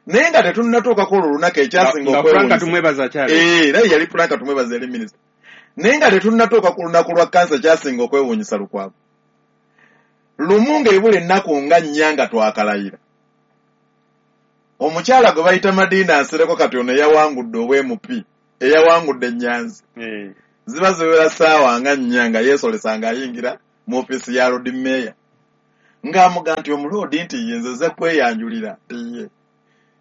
Naye nga tetunnatuuka ku olwo olunaku ekyasinga okwewuunyisa, era yali Frank Tumwebaza yali minisita. Naye nga tetunnatuuka ku lunaku lwa kanso ekyasinga okwewuunyisa Lukwago, Lumu ng'ebula ennaku nga nnya nga twakalayira, omukyala gwe bayita Madina Nsereko, kati ono eyawangudde obwa MP, eyawangudde Ennyanzi, ziba ziwera ssaawa nga 4 nga yeesolesa ng'ayingira mu ofiisi ya Lord Mayor, ng'amuga nti omuloodi nti ye nze nze kweyanjulira, nti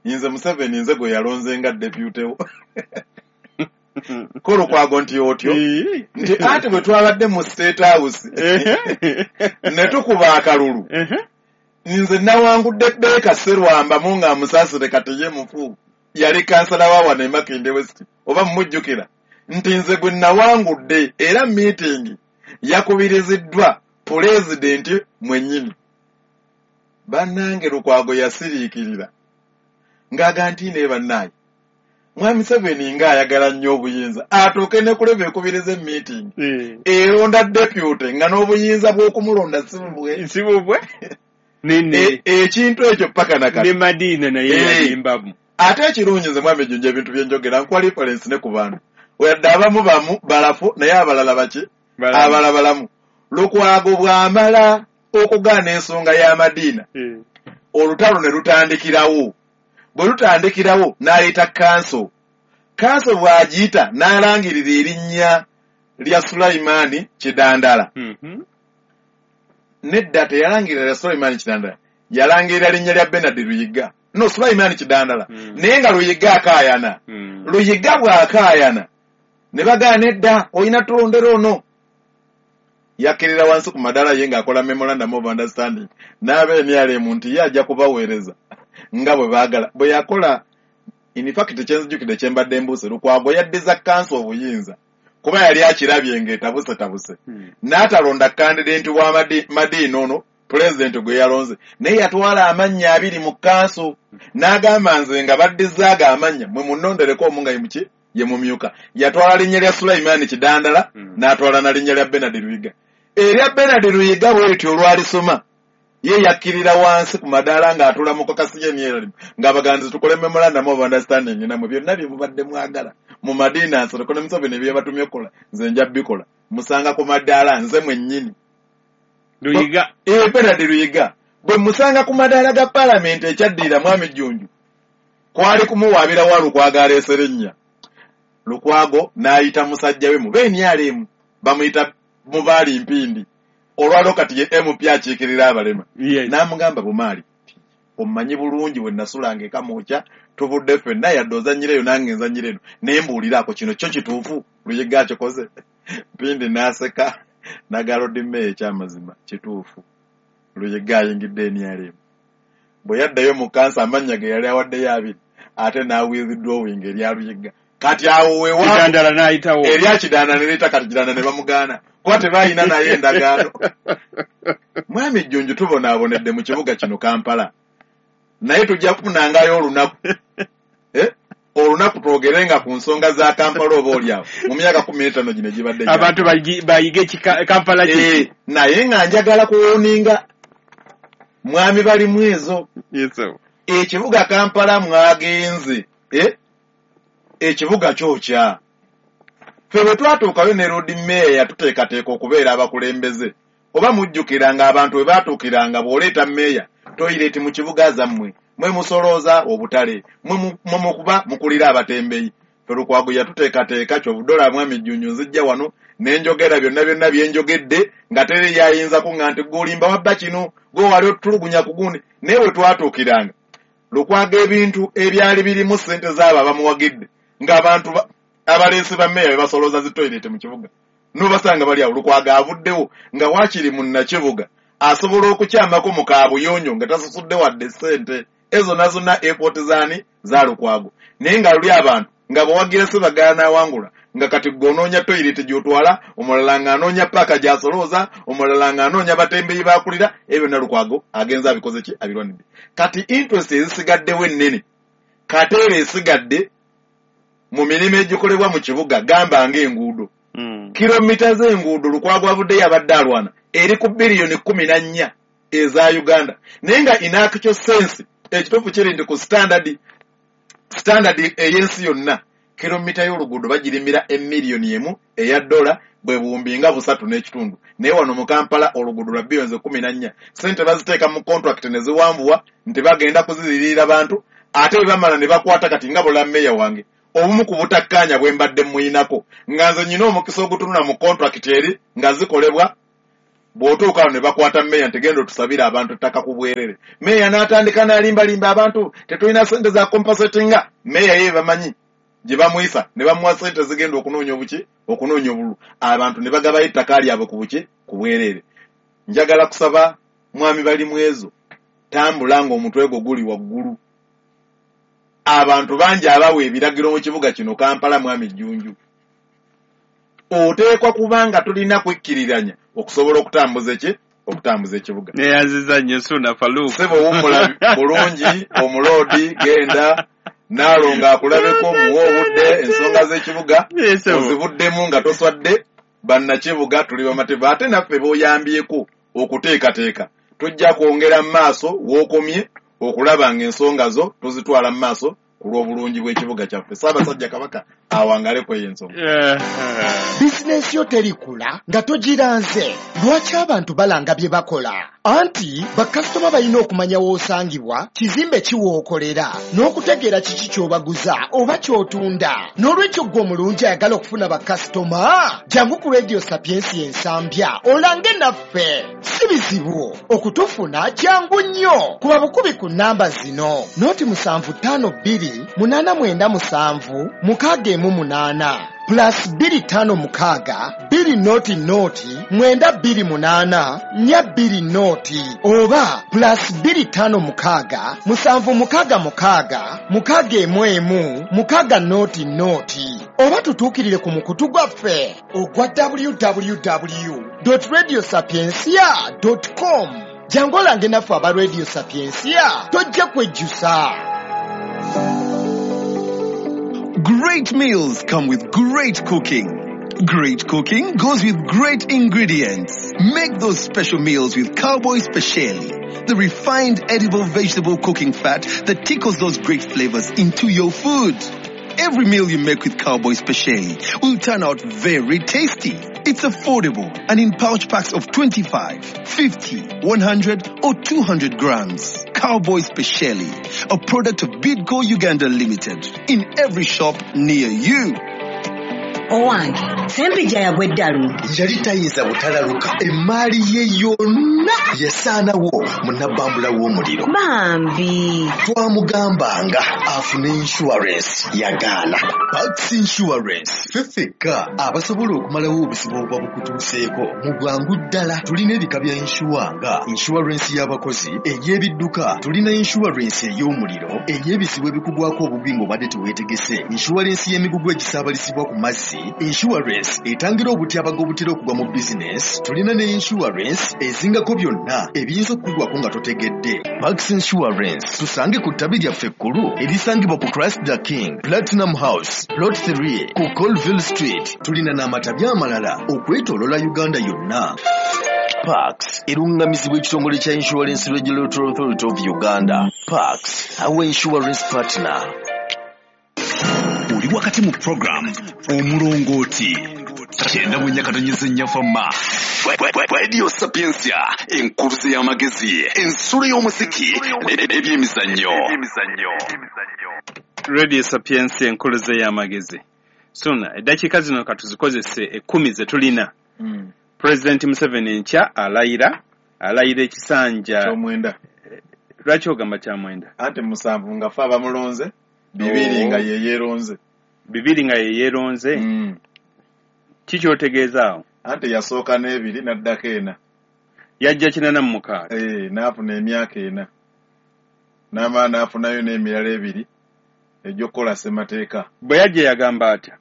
ye nze Museveni, nze gwe yalonze nga deputy wo. Ko Lukwago nti otyo, nti anti bwe twabadde mu State House ne tukuba akalulu, nze nawangudde Beeka Serwambamu nga amusaasire, kati ye mufu, yali kansala wa wano e Makindye West, oba mumujjukira, nti nze gwe nawangudde era meeting yakubiriziddwa pulezidenti mwennyini. Bannange, Lukwago yasiriikirira ng'aga nti naye bannaaye, Mwami Museveni ng'ayagala nnyo obuyinza, atuuke ne kuleba ekubiriza emeeting eronda deputy nga n'obuyinza bw'okumulonda si bubwe. Si bubwe nene. Ekintu ekyo paka nakati. Ne Madiina naye yalimbamu. Ate ekirungi, nze mwami Jjunju, ebintu byenjogera nkuwa reference ne ku bantu, wadde abamu bamu balafu, naye abalala baki? Abalala balamu. Lukwago bw'amala okugaana ensonga ya Madiina, olutalo ne lutandikirawo. Bwe lutandikirawo, n'ayita kanso. Kanso bw'agiyita, n'alangirira erinnya lya Sulaimaani Kidandala. Nedda, teyalangirira lya Sulaimaani Kidandala, yalangirira linnya lya Benard Luyiga, no Sulaimaani Kidandala. Naye nga Luyiga akaayana. Luyiga bw'akaayana ne bagaana, nedda, olina tulondera ono. Yakkirira wansi ku madaala ye ng'akola memorandum of understanding n'aba NRM nti ye ajja kubaweereza nga bwe baagala. Bwe yakola, in fact kyenzijukidde kyembadde mbuuse, Lukwago yaddiza kanso obuyinza kuba yali akirabye ng'etabusetabuse, n'atalonda candidate wa Madiina ono pulezidenti gwe yalonze, naye yatwala amannya abiri mu kanso n'agamba, nze nga baddizaago amannya, mwe munnondereko omu nga ye muki, ye mumyuka. Yatwala linnya lya Sulaimaani Kidandala, n'atwala na linnya lya Benard Luyiga. Erya Benard Luyiga bwe lityo olwalisoma, ye yakkirira wansi ku madaala ng'atuula mu caucus y'emyeralimu ng'abaganzi, tukole memorandum of understanding namwe, byonna bye mubadde mwagala mu Madiina Nsereko ne Museveni bye batumye okukola, nze nja bikola, musanga ku madaala nze mwennyini. Luyiga. Benard Luyiga bwe musanga ku madaala ga paalamenti, ekyaddirira, mwami Jjunju, kwali kumuwaabira wa Lukwago aleesera erinnya. Lukwago n'ayita musajja we mu BNRM, bamuyita Mubaali Mpindi, olwalwo kati ye MP akiikirira abalema, n'amugamba, Bumaali, omumanyi bulungi, bwe nasulanga e Kamwokya tuvudde ffenna, yadde ozannyira eyo nange nzannyira eno, naye mbuuliraako, kino kyo kituufu Luyiga akikoze? Mpindi n'aseka n'agamba, Meeya, ekyamazima kituufu, Luyiga ayingidde NRM. Bwe yaddayo mu kansa, amannya ge yali awaddeyo abiri, ate n'awithdrawing erya Luyiga. Kati awo wewa Kidandala n'ayitawo. Erya Kidandala ne leeta, kati Kidandala ne bamugaana kuba tebalina naye endagaano. Mwami Jjunju, tubonaabonedde mu kibuga kino Kampala, naye tujja kufunangayo olunaku, olunaku twogerenga ku nsonga za Kampala, oba oliawo mu myaka 15 gino egibadde abantu bayige Kampala kiki. Naye nga njagala kuwarninga mwami balimu ezo. Yes, sir. Ekibuga Kampala mwagenze, ekibuga kyokya. Ffe bwe twatuukayo ne Lord Mayor yatuteekateeka okubeera abakulembeze, oba mujjukira nga abantu bwe baatuukiranga, bw'oleeta meeya toilet mu kibuga zammwe, mwe musolooza obutale, mwe mukuba mukulira abatembeyi. Ffe Lukwago yatuteekateeka. Kyobudola, mwami Jjunju, nzijja wano ne njogera byonna byonna bye njogedde nga teri yayinza kuŋŋa nti gwolimba wabba kino, gwe wali otulugunya ku gundi. Naye bwe twatuukiranga Lukwago, ebintu ebyali birimu ssente zaabo abamuwagidde, ng'abantu abaleesi ba meeya be basolooza zi toilet mu kibuga, nobasanga bali awo. Lukwago avuddewo nga waakiri munnakibuga asobola okukyamako mu kaabuyonjo nga tasasudde wadde ssente ezo nazonna, effort zaani? Za Lukwago. Naye nga luli abantu nga bwewagira Sebagala n'awangula, nga kati gwe onoonya toilet gy'otwala, omulala ng'anoonya paaka gy'asolooza, omulala ng'anoonya batembeyi bakulira. Ebyo byonna Lukwago agenza abikoze ki? Abirwanidde. Kati interest ezisigaddewo ennene kateera esigadde mu mirimu egikolebwa mu kibuga, gamba ng'enguudo, kilomita z'enguudo Lukwago avuddeyo abadde alwana eri ku biliyoni 14 eza Uganda. Naye nga in actual sense, ekituufu kiri nti ku standard ey'ensi yonna Kilomita y'oluguudo bagirimira $1 eya bwe buwumbi nga 3.5. Naye wano mu Kampala oluguudo lwa billions 14. Ssente baziteeka mu contract ne ziwanvuwa nti bagenda kuziririra bantu, ate bwe bamala ne bakwata. Kati nga bola meya wange obumu ku butakkaanya bwe mbadde muyinako, nga nze nnyina omukisa ogutunula mu contract eri nga zikolebwa, bw'otuuka wano ne bakwata meya nti genda otusabire abantu ettaka ku bwerere. Meya n'atandika n'alimbalimba abantu, tetulina ssente za compensatinga. Meya ye bamanyi gye bamuyisa ne bamuwa ssente zigenda okunoonya obuki, okunoonya obululu, abantu ne bagabayo ettaka lyabwe ku buki, ku bwerere. Njagala kusaba mwami Balimwezo, tambula ng'omutwe gwo guli waggulu. Abantu bangi abawa ebiragiro mu kibuga kino Kampala. Mwami Jjunju, oteekwa kubanga tulina kwekkiriranya okusobola okutambuza eki, okutambuza ekibuga. Neyanziza nnyo Ssuuna Farouk. Ssebo, wummula bulungi, omuloodi genda naalongo akulabeko, muwe obudde, ensonga z'ekibuga ozibuddemu nga toswadde. Bannakibuga tuli bamativu, ate naffe b'oyambyeko okuteekateeka tujja kwongera mu maaso w'okomye okulaba ng'ensonga zo tuzitwala mu maaso ku lw'obulungi bw'ekibuga kyaffe. Ssaabasajja Kabaka awangale kweyo ensonga. Bizinensi yo terikula nga togiranze. Lwaki abantu balanga bye bakola? Anti bakasitoma balina okumanya w'osangibwa, kizimbe ki w'okolera, n'okutegeera kiki ky'obaguza oba ky'otunda. N'olwekyo ggwe omulungi ayagala okufuna bakasitoma, jangu ku Radio Sapiensia Ensambya olange naffe. Si bizibu okutufuna, jangu nnyo, kuba bukubi ku nnamba zino: 0752 897 618, +256 200 928 420, oba +256 766 611 600, oba tutuukirire ku mukutu gwaffe ogwa www radio sapiencia com. Jangu olange naffe aba Radio Sapiencia, tojja kwejjusa. Great meals come with great cooking. Great cooking goes with great ingredients. Make those special meals with Cowboy Speciale, the refined edible vegetable cooking fat that tickles those great flavors into your food. Every meal you make with Cowboy Speciale will turn out very tasty. It's affordable and in pouch packs of 25, 50, 100 or 200 grams. Cowboy Speciale, a product of Bidco Uganda Limited, in every shop near you. Owange Sempijja yagwa eddalu. Yali tayinza butalaluka, emaali ye yonna yasaanawo mu nabbambula w'omuliro. Bambi. Twamugambanga afune insurance, yagaana. Pax Insurance, ffe ffekka abasobola okumalawo obuzibu obuba bukutuuseeko mu bwangu ddala. Tulina ebika bya insure nga insurance y'abakozi, ey'ebidduka, tulina insurance ey'omuliro, ey'ebizibu ebikugwako obubi ng'obadde teweetegese, insurance y'emigugu egisaabalizibwa ku mazzi, insurance etangira obutyabaga obutera okugwa mu bizinesi. Tulina ne insurance ezingako byonna ebiyinza okukugwako nga totegedde. Pax Insurance, tusange ku ttabi lyaffe ekkulu erisangibwa ku Christ the King Platinum House, Plot 3, ku Colville Street. Tulina n'amatabi amalala okwetoolola Uganda yonna. Pax eruŋŋamizibwa ekitongole kya Insurance Regulatory Authority of Uganda. Pax, our insurance partner. Oli wakati mu program Omulongooti, 94.4 Fama Radio Sapiencia, enkuluze y'amagezi, ensulo y'omuziki n'ebyemizannyo. Radio Sapiencia, enkuluze y'amagezi. Suna, eddakiika zino katuzikozese 10 ze tulina. President Museveni enkya alayira ekisanja kyomwenda. Lwaki ogamba kyamwenda? Anti 7 nga fe abamulonze, 2 nga ye yeeronze. 2 nga ye yeeronze. Kiki otegeeza awo? Anti yasooka n'ebiri n'addako 4. Yajja 86. N'afuna emyaka 4, n'amala n'afunayo n'emirala 2 egy'okukola ssemateeka. Bwe yajja yagamba atya?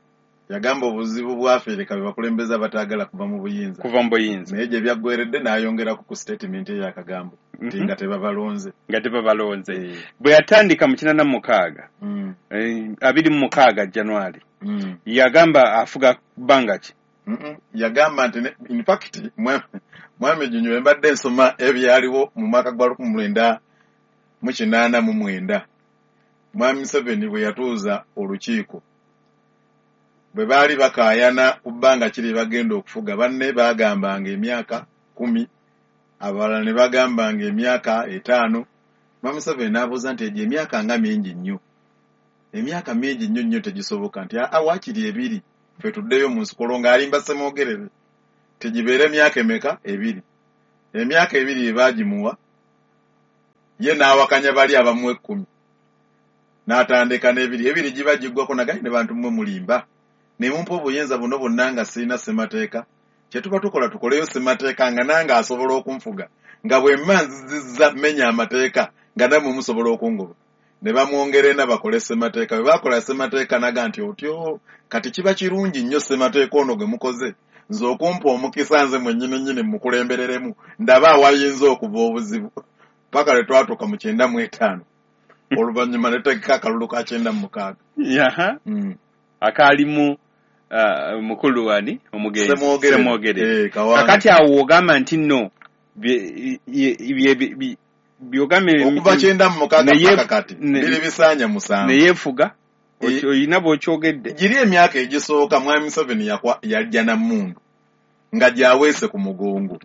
Yagamba obuzibu bwaffe bwe bakulembeze abataagala kuva mu buyinza. Kuva mu buyinza. Naye gye byaggweredde n'ayongerako ku statement ey'akagambo nti nga tebabalonze. Nga tebabalonze. Bwe yatandika mu 86, 26 January, yagamba afuga bbanga ki? Yagamba nti in fact, mwami Junyo, mbadde nsoma ebyaliwo mu mwaka gwa 1989, mwami Museveni bwe yatuuza olukiiko Bwe baali bakaayana ku bbanga kiri bagenda okufuga, banne baagambanga emyaka 10, abalala ne bagambanga emyaka 5. Mwami Museveni n'abuuza nti egyo emyaka nga mingi nnyo, emyaka mingi nnyo nnyo tegisoboka, nti aa waakiri 2 ffe tuddeyo mu nsiko ng'alimba Ssemwogerere tegibeere emyaka emeka 2. Emyaka 2 ebaagimuwa ye n'awakanya bali abamuwa 10 n'atandika n'ebiri, 2 giba giggwako nagaye ne bantu mmwe mulimba ne mumpa obuyinza buno bwonna nga sirina ssemateeka. Kye tuba tukola tukoleyo ssemateeka nga nange asobola okunfuga, nga bwe mma nzizizza mmenya amateeka nga nammwe musobola okungoba. Ne bamwongera ena bakole ssemateeka. Bwe baakola ssemateeka naga nti otyo kati kiba kirungi nnyo ssemateeka ono gwe mukoze nze okumpa omukisa nze mwennyini nnyini mukulembereremu ndaba awayinza okuva obuzibu. Paka lwe twatuuka mu 95 oluvannyuma ne tutegeka akalulu ka 96. Akaalimu mukulu wani omugenzi Ssemwogerere. Kakati awo ogamba nti nno byogambye okuva 96 paka kati biri bisaanya 7 neyeefuga oyina bw'okyogedde. Giri emyaka egisooka Mwami Museveni yajja na mmundu nga gy'aweese ku mugongo.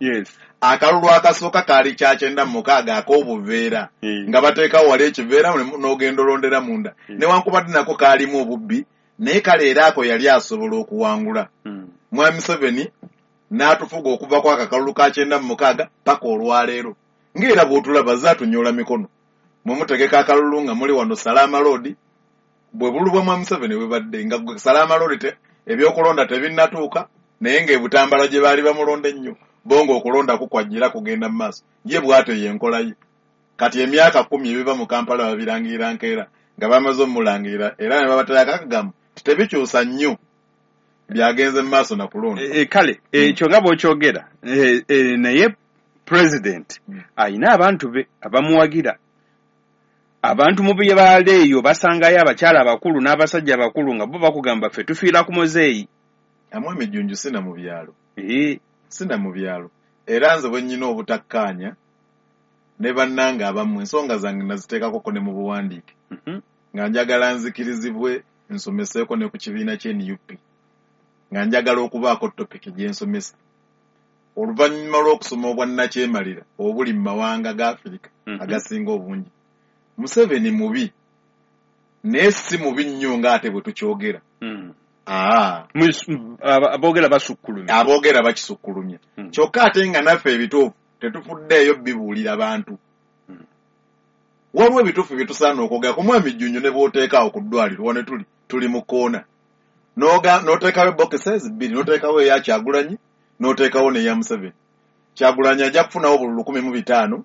Akalulu akasooka kaali kya 96 ak'obuveera nga bateekawo wali ekiveera n'ogenda olondera munda. Newankubadde nako kaalimu obubbi, naye kale era ako yali asobola okuwangula. Mwami Museveni n'atufuga okuva ku akakalulu ka 96 paka olwaleero. Ng'era bw'otulaba zaatunyola mikono. Mwe mutegeka akalulu nga muli wano Salama Road, bwe bululu bwa Mwami Museveni bubadde nga Salama Road ebyokulonda tebinnatuuka, naye ng'ebutambala gye baali bamulonda ennyo, bo ng'okulonda kukwajjira kugenda mu maaso. Ye bw'atyo y'enkola ye. Kati emyaka 10 ebiva mu Kampala babirangirira nkeera nga bamaze omulangirira, era ne babaterako akagambo nti tebikyusa nnyo byagenze mu maaso na kulonda. Kale ekyo nga bw'okyogera, naye President ayina abantu be abamuwagira. Abantu mu bye baala eyo basangayo abakyala abakulu n'abasajja abakulu nga bo bakugamba ffe tufiira ku muzeeyi. Amwami Jjunju sina mu byalo. Sina mu byalo. Era nze bwe nnyina obutakkaanya ne bannange abamu ensonga zange naziteekako ne mu buwandiike. Nga njagala nzikirizibwe nsomeseeko ne ku kibiina kye NUP. Nga njagala okubaako topic gye nsomesa. Oluvannyuma lw'okusoma obwannakyemalira obuli mu mawanga ga Afirika agasinga obungi. Museveni mubi, naye si mubi nnyo ng'ate bwe tukyogera. Aboogera basukkulumya. Aboogera bakisukkulumya. Kyokka ate nga naffe ebituufu tetufuddeeyo bibuulira bantu. Waliwo ebituufu bye tusaana okwogera ku Mwami Jjunju ne bw'oteekaawo ku ddwaliro wano tuli mu kkoona. N'oteekawo boxes 2, n'oteekawo eya Kyagulanyi, n'oteekawo n'eya Museveni. Kyagulanyi ajja kufunawo obululu 15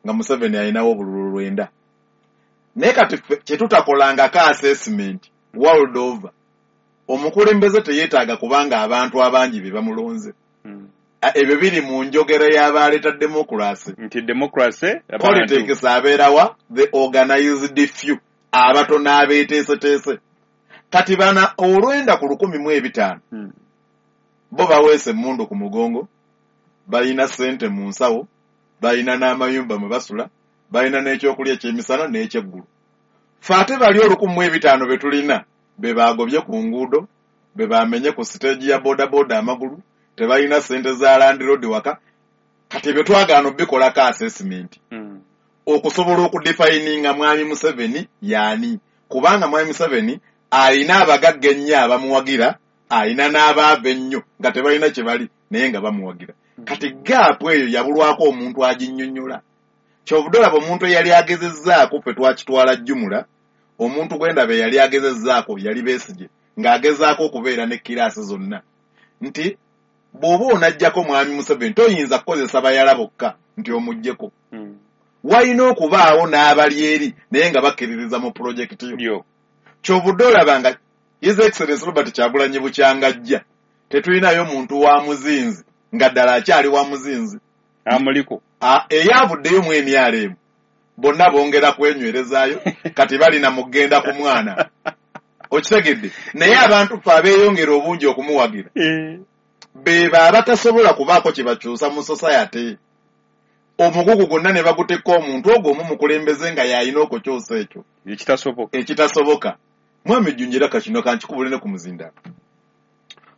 nga Museveni alinawo obululu 9. Naye kati kye tutakolangako assessment world over, omukulembeze teyeetaaga kubanga abantu abangi be bamulonze. Ebyo biri mu njogera y'abaleeta democracy. Nti democracy politics abeerawa the organized few, abatono abeeteeseteese. Kati bana 9 ku 1,005 bo baweese emmundu ku mugongo, balina ssente mu nsawo, balina n'amayumba mwe basula, balina n'ekyokulya ekyemisana n'ekyeggulu. Ffe ate bali 1,005 be tulina be baagobye ku nguudo, be baamenye ku siteegi ya bodaboda amagulu, tebalina ssente za landlord waka. Kati ebyo twagaana obikolako assessment okusobola okudefininga Mwami Museveni y'ani, kubanga Mwami Museveni alina abagagga ennyo abamuwagira, alina n'abaava ennyo nga tebalina kye bali naye nga bamuwagira. Kati gaapu eyo yabulwako omuntu aginnyonnyola. Kyovudde olaba omuntu eyali agezezzaako ffe twakitwala jjumula, omuntu gwendaba eyali agezezzaako yali Besigye ng'agezaako okubeera ne kiraasi zonna nti bw'oba onaggyako Mwami Museveni toyinza kukozesa bayala bokka nti omuggyeko. Walina okubaawo n'abali eri naye nga bakkiririza mu pulojekiti yo. Kyovudde olaba nga His Excellency Robert Kyagulanyi bukyangajja tetulinayo muntu wa muzinzi nga ddala akyali wa muzinzi. Amuliko. Eyavuddeyo mu NRM bonna bongera kwenywerezaayo kati balina mugenda ku mwana. Okitegedde? Naye abantu ffe abeeyongera obungi okumuwagira beba abatasobola kubaako kye bakyusa mu society. Omugugu gwonna ne bagutekka omuntu ogwo omu mukulembeze nga y'alina okukyusa ekyo. Ekitasoboka. Ekitasoboka. Mwami Jjunju era kakino kankikubule ne ku muzindaalo.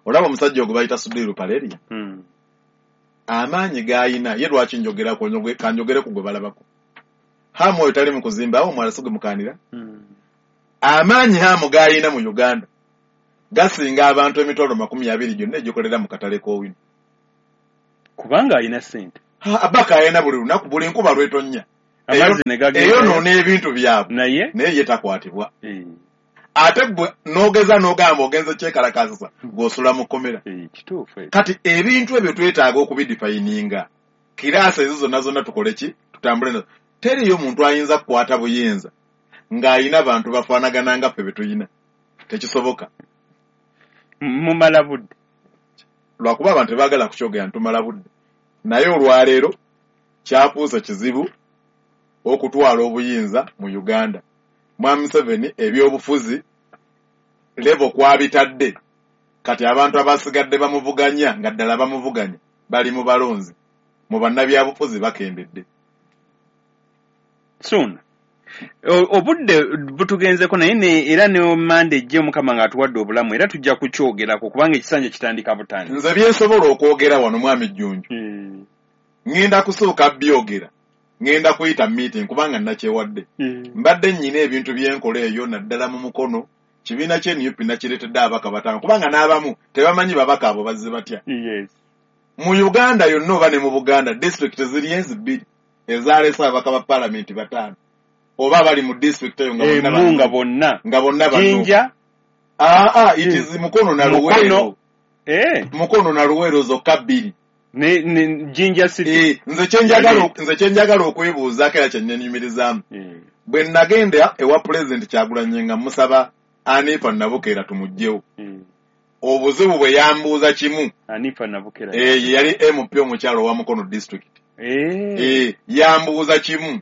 Olaba omusajja ogwe bayita Sudhir Ruparelia, amaanyi g'ayina ye lwaki njogerako, kanjogere ku gwe balabako. Hamu oyo tali mu kuzimba, awo omwala si gwe mukaanira. Amaanyi Hamu g'ayina mu Uganda gasinga abantu 20,000 gyonna egikolera mu katale k'Owino. Kubanga alina ssente. Abaka ayina buli lunaku, buli nkuba lw'etonnya. Eyonoona ebintu byabwe naye ye takwatibwa. Ate gwe n'ogeza n'ogamba ogenze kyekalakaasisa ng'osula mu kkomera. Kati ebintu ebyo twetaaga okubidifayininga. Kiraasi ezo zonna zonna tukole ki? Tutambule nazo. Teriyo muntu ayinza kukwata buyinza ng'ayina bantu bafaanagana nga ffe be tuyina. Tekisoboka. Mumala budde. Lwakuba abantu tebaagala kukyogera ntumala budde. Naye olwaleero kyafuuse kizibu okutwala obuyinza mu Uganda. Mwami Museveni ebyobufuzi level kwabitadde, kati abantu abasigadde bamuvuganya nga ddala bamuvuganya bali mu balonzi, mu bannabyabufuzi bakendedde. Soon obudde butugenzeko, naye era ne Mande ejje Omukama ng'atuwadde obulamu era tujja kukyogerako kubanga ekisanja kitandika butandika. Nze byensobola okwogera wano Mwami Jjunju, ŋŋenda kusooka byogera, ŋŋenda kuyita meeting kubanga nakyewadde. Mbadde nnyina ebintu byenkola eyo naddala mu Mukono, kibiina kye NUP nakireetedde ababaka 5 kubanga n'abamu tebamanyi babaka abo bazze batya. Mu Uganda yonna oba ne mu Buganda disitulikiti ziri ezi 2 ezaleese ababaka ba paalamenti 5 oba abali mu disitulikiti eyo nga bonna nga bonna Jinja. It is Mukono na Luweero. Mukono na Luweero zokka 2. Ne Jinja City. Nze kyenjagala okwebuuzaako era kyennenyumirizaamu. Bwe nagenda ewa Pulezidenti Kyagulanyi nga musaba Anifa Nabukeera tumuggyewo. Obuzibu bwe yambuuza kimu. Anifa Nabukeera. Yali MP omukyalo wa Mukono district. Yambuuza kimu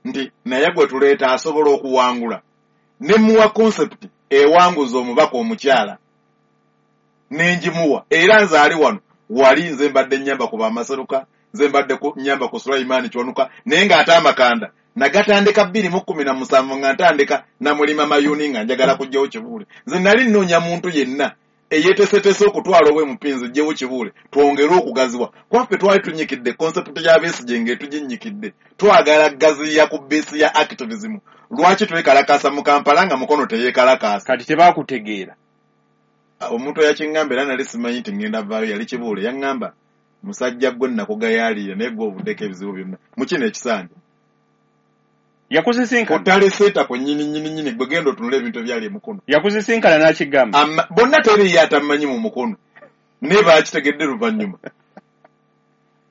nti naye gwe tuleeta asobola okuwangula. Ne muwa concept ewanguza omubaka omukyala. Nenjimuwa. Era nze ali wano. Wali nze mbadde nnyamba ku Bamaseruka, nze mbadde nnyamba ku Sulaiman Kiwanuka, naye ng'ate amakanda nagatandika 2017 nga ntandika namulima Mayuni nga njagala kuggyawo Kibuule. Nze nali nnoonya muntu yenna eyeeteeseteese okutwala obwemupinzi ggyewo Kibuule twongere okugaziwa. Kwaffe twali tunnyikidde concept ya Besigye ng'etuginnyikidde. Twagala gaziya ku base ya activism. Lwaki twekalakaasa mu Kampala nga Mukono teyeekalakaasa? Kati tebakutegeera. Omuntu eyakiŋŋamba era nali simanyi nti ŋŋenda vaayo yali Kibuule, yaŋŋamba musajja gwe nnakugayaalira naye gwe ovuddeko ebizibu byonna mu kino ekisanja. Yakusisinkana? Otaleseeta ku nnyini nnyini nnyini gwe genda otunule ebintu ebyali e Mukono. Yakusisinkana n'akigamba? Bonna teriiyo atammanyi mu Mukono naye baakitegedde luvannyuma.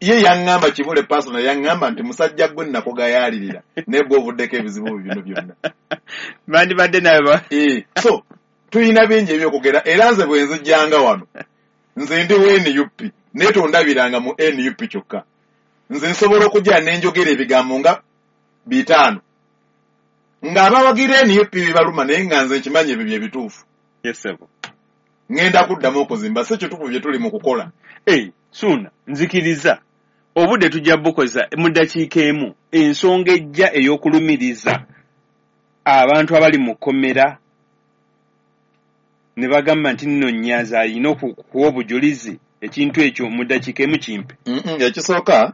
Ye yaŋŋamba Kibuule personal yaŋŋamba nti musajja gwe nnakugayaalirira naye gwe ovuddeko ebizibu bino byonna. Bandibadde naye so tulina bingi ebyokugera era nze bwe nzijjanga wano nze ndi wa NUP naye tondabiranga mu NUP kyokka. Nze nsobola okujja ne njogera ebigambo nga 5 ng'abawagira NUP bibaluma naye nga nze nkimanyi ebyo bye bituufu. Ŋŋenda kuddamu okuzimba si kituufu bye tuli mu kukola. Suuna nzikiriza obudde tujja bukozesa mu ddakiika emu ensonga ejja ey'okulumiriza abantu abali mu kkomera ne bagamba nti nno Nnyanzi alina okuwa obujulizi ekintu ekyo mu ddakiika emu kimpe. Ekisooka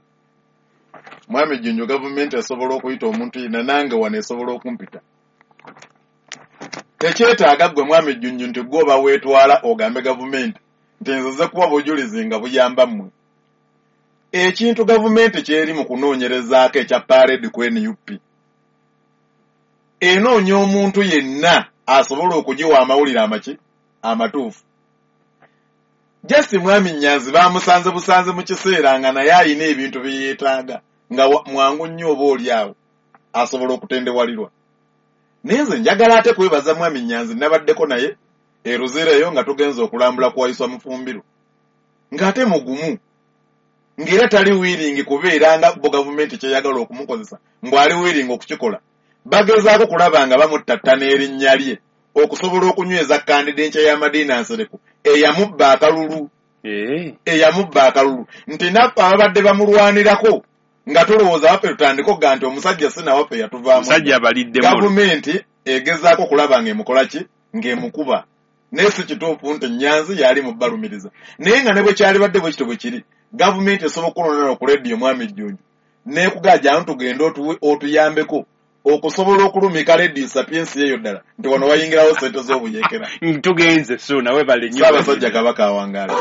Mwami Jjunju gavumenti esobola okuyita omuntu yenna nange wano esobola okumpita. Tekyetaaga ggwe Mwami Jjunju nti ggwe oba weetwala ogambe gavumenti nti nzize kuwa bujulizi nga buyamba mmwe. Ekintu gavumenti ky'eri mu kunoonyerezaako ekya parade ku NUP enoonya omuntu yenna asobola okugiwa amawulire amaki amatuufu. Just Mwami Nnyanzi bamusanze busanze mu kiseera nga naye alina ebintu bye yeetaaga nga mwangu nnyo oba oli awo asobola okutendewalirwa. Naye nze njagala ate kwebaza Mwami Nnyanzi nabaddeko naye e Luzira eyo nga tugenze okulambula ku Waiswa Mufumbiro ng'ate mugumu ng'era tali wiringi kubeera nga bo gavumenti kyeyagala okumukozesa mbw'ali wiringi okukikola. Bagezaako kulaba nga bamuttattana erinnya lye okusobola okunyweza kandidenkya ya Madina Nsereko eyamubba akalulu. Eyamubba akalulu nti naffe ababadde bamulwanirako nga tulowooza waffe tutandike okugaa nti omusajja si nawaffe yatuvaamu. Gavumenti egezaako kulaba ng'emukola ki ng'emukuba. Naye si kituufu nti Nyanzi yali mu balumiriza. Naye nga ne bwe kyalibadde bwe kityo bwe kiri, gavumenti esobola okulondola ku rediyo Mwami Jjunju n'ekugaa jangu tugende otuyambeko okusobola okulumika rediyo Sapiensia eyo ddala nti wano wayingirawo ssente z'obuyeekera. Tugenze Ssuuna, webale nnyo. Ssaabasajja Kabaka awangaale.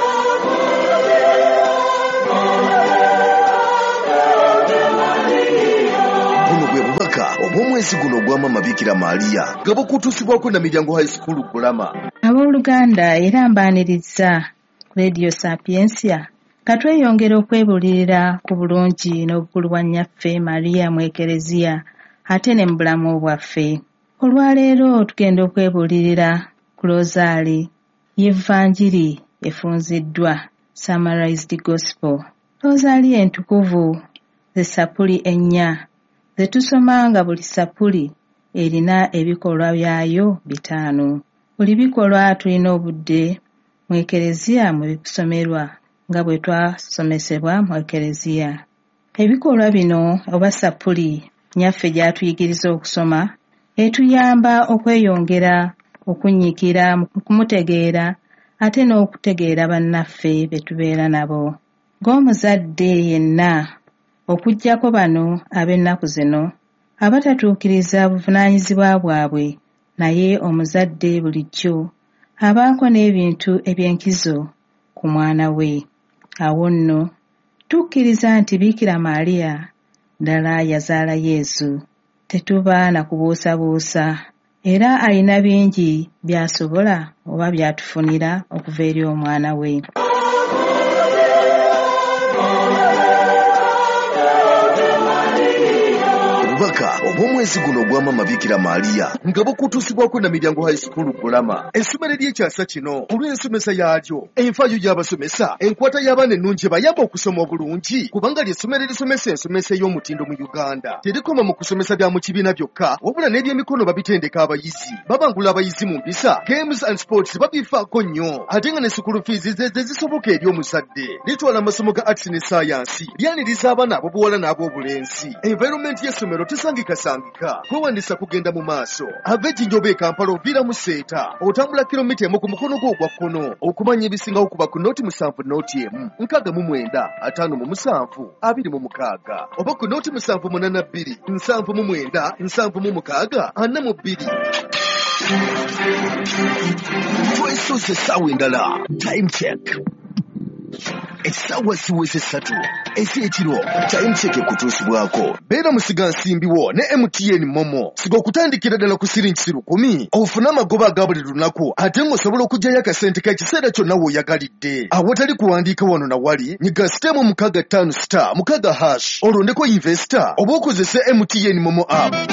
Buno bwe bubaka obw'omwezi guno ogwa Maama Bikira Maria nga bukutuusibwako Namiryango High School Kulama. Abooluganda, era mbaaniriza ku Radio Sapiensia nga tweyongera okwebuulirira ku bulungi n'obukulu bwa nnyaffe Maria mu Ekereziya ate ne mu bulamu bwaffe. Olwaleero tugenda okwebuulirira ku Rosaali y'Evanjiri efunziddwa, Summarized Gospel. Rosaali entukuvu ze ssapuli ennya ze tusoma nga buli ssapuli erina ebikolwa byayo 5. Buli bikolwa tulina obudde mu Ekereziya mwe bisomerwa nga bwe twasomesebwa mu Ekereziya. Ebikolwa bino oba ssapuli nnyaffe gy'atuyigiriza okusoma etuyamba okweyongera okunyiikira mu kumutegeera ate n'okutegeera bannaffe be tubeera nabo. Ng'omuzadde yenna, okuggyako bano ab'ennaku zino abatatuukiriza buvunaanyizibwa bwabwe, naye omuzadde bulijjo abaako n'ebintu eby'enkizo ku mwana we. Awo nno tukkiriza nti Bikira Maria ddala yazaala Yesu. Tetuba na kubuusabuusa, era alina bingi by'asobola oba by'atufunira okuva eri omwana we. Obubaka obw'omwezi guno ogwa Maama Bikira Maria nga bukutuusibwako Namiryango High School Kulama, essomero ery'ekyasa kino olw'ensomesa yaalyo, enfaayo y'abasomesa, enkwata y'abaana ennungi ebayamba okusoma obulungi, kubanga ly'essomero erisomesa ensomesa ey'omutindo mu Uganda. Terikoma mu kusomesa bya mu kibiina byokka, wabula n'ebyemikono babitendeka abayizi, babangula abayizi mu mpisa, games and sports babifaako nnyo, ate nga ne school fees ze zisoboka eri omuzadde. Litwala amasomo ga arts ne science, lyaniriza abaana ab'obuwala n'ab'obulenzi. Environment y'essomero tesangikasangika, kwewandiisa kugenda mu maaso. Ava Ejjinja oba e Kampala oviira mu Seeta, otambula kilomita 1 ku mukono gwo ogwa kkono. Okumanya ebisingawo kuba ku 070 1 69 57 26 oba ku 0782 79 76 42. Twesoose essaawa endala. Time check. Essaawa ziweze 3 ez'ekiro. Time check ekutuusibwako. Beera musigansimbiwo ne MTN Momo. Siga okutandikira ddala ku siringi 10,000 ofune amagoba aga buli lunaku, ate ng'osobola okuggyayo akasente k'ekiseera kyonna w'oyagalidde. Awatali kuwandiika wano na wali, nyiga *656*6# olondeko investor oba okozese MTN Momo app.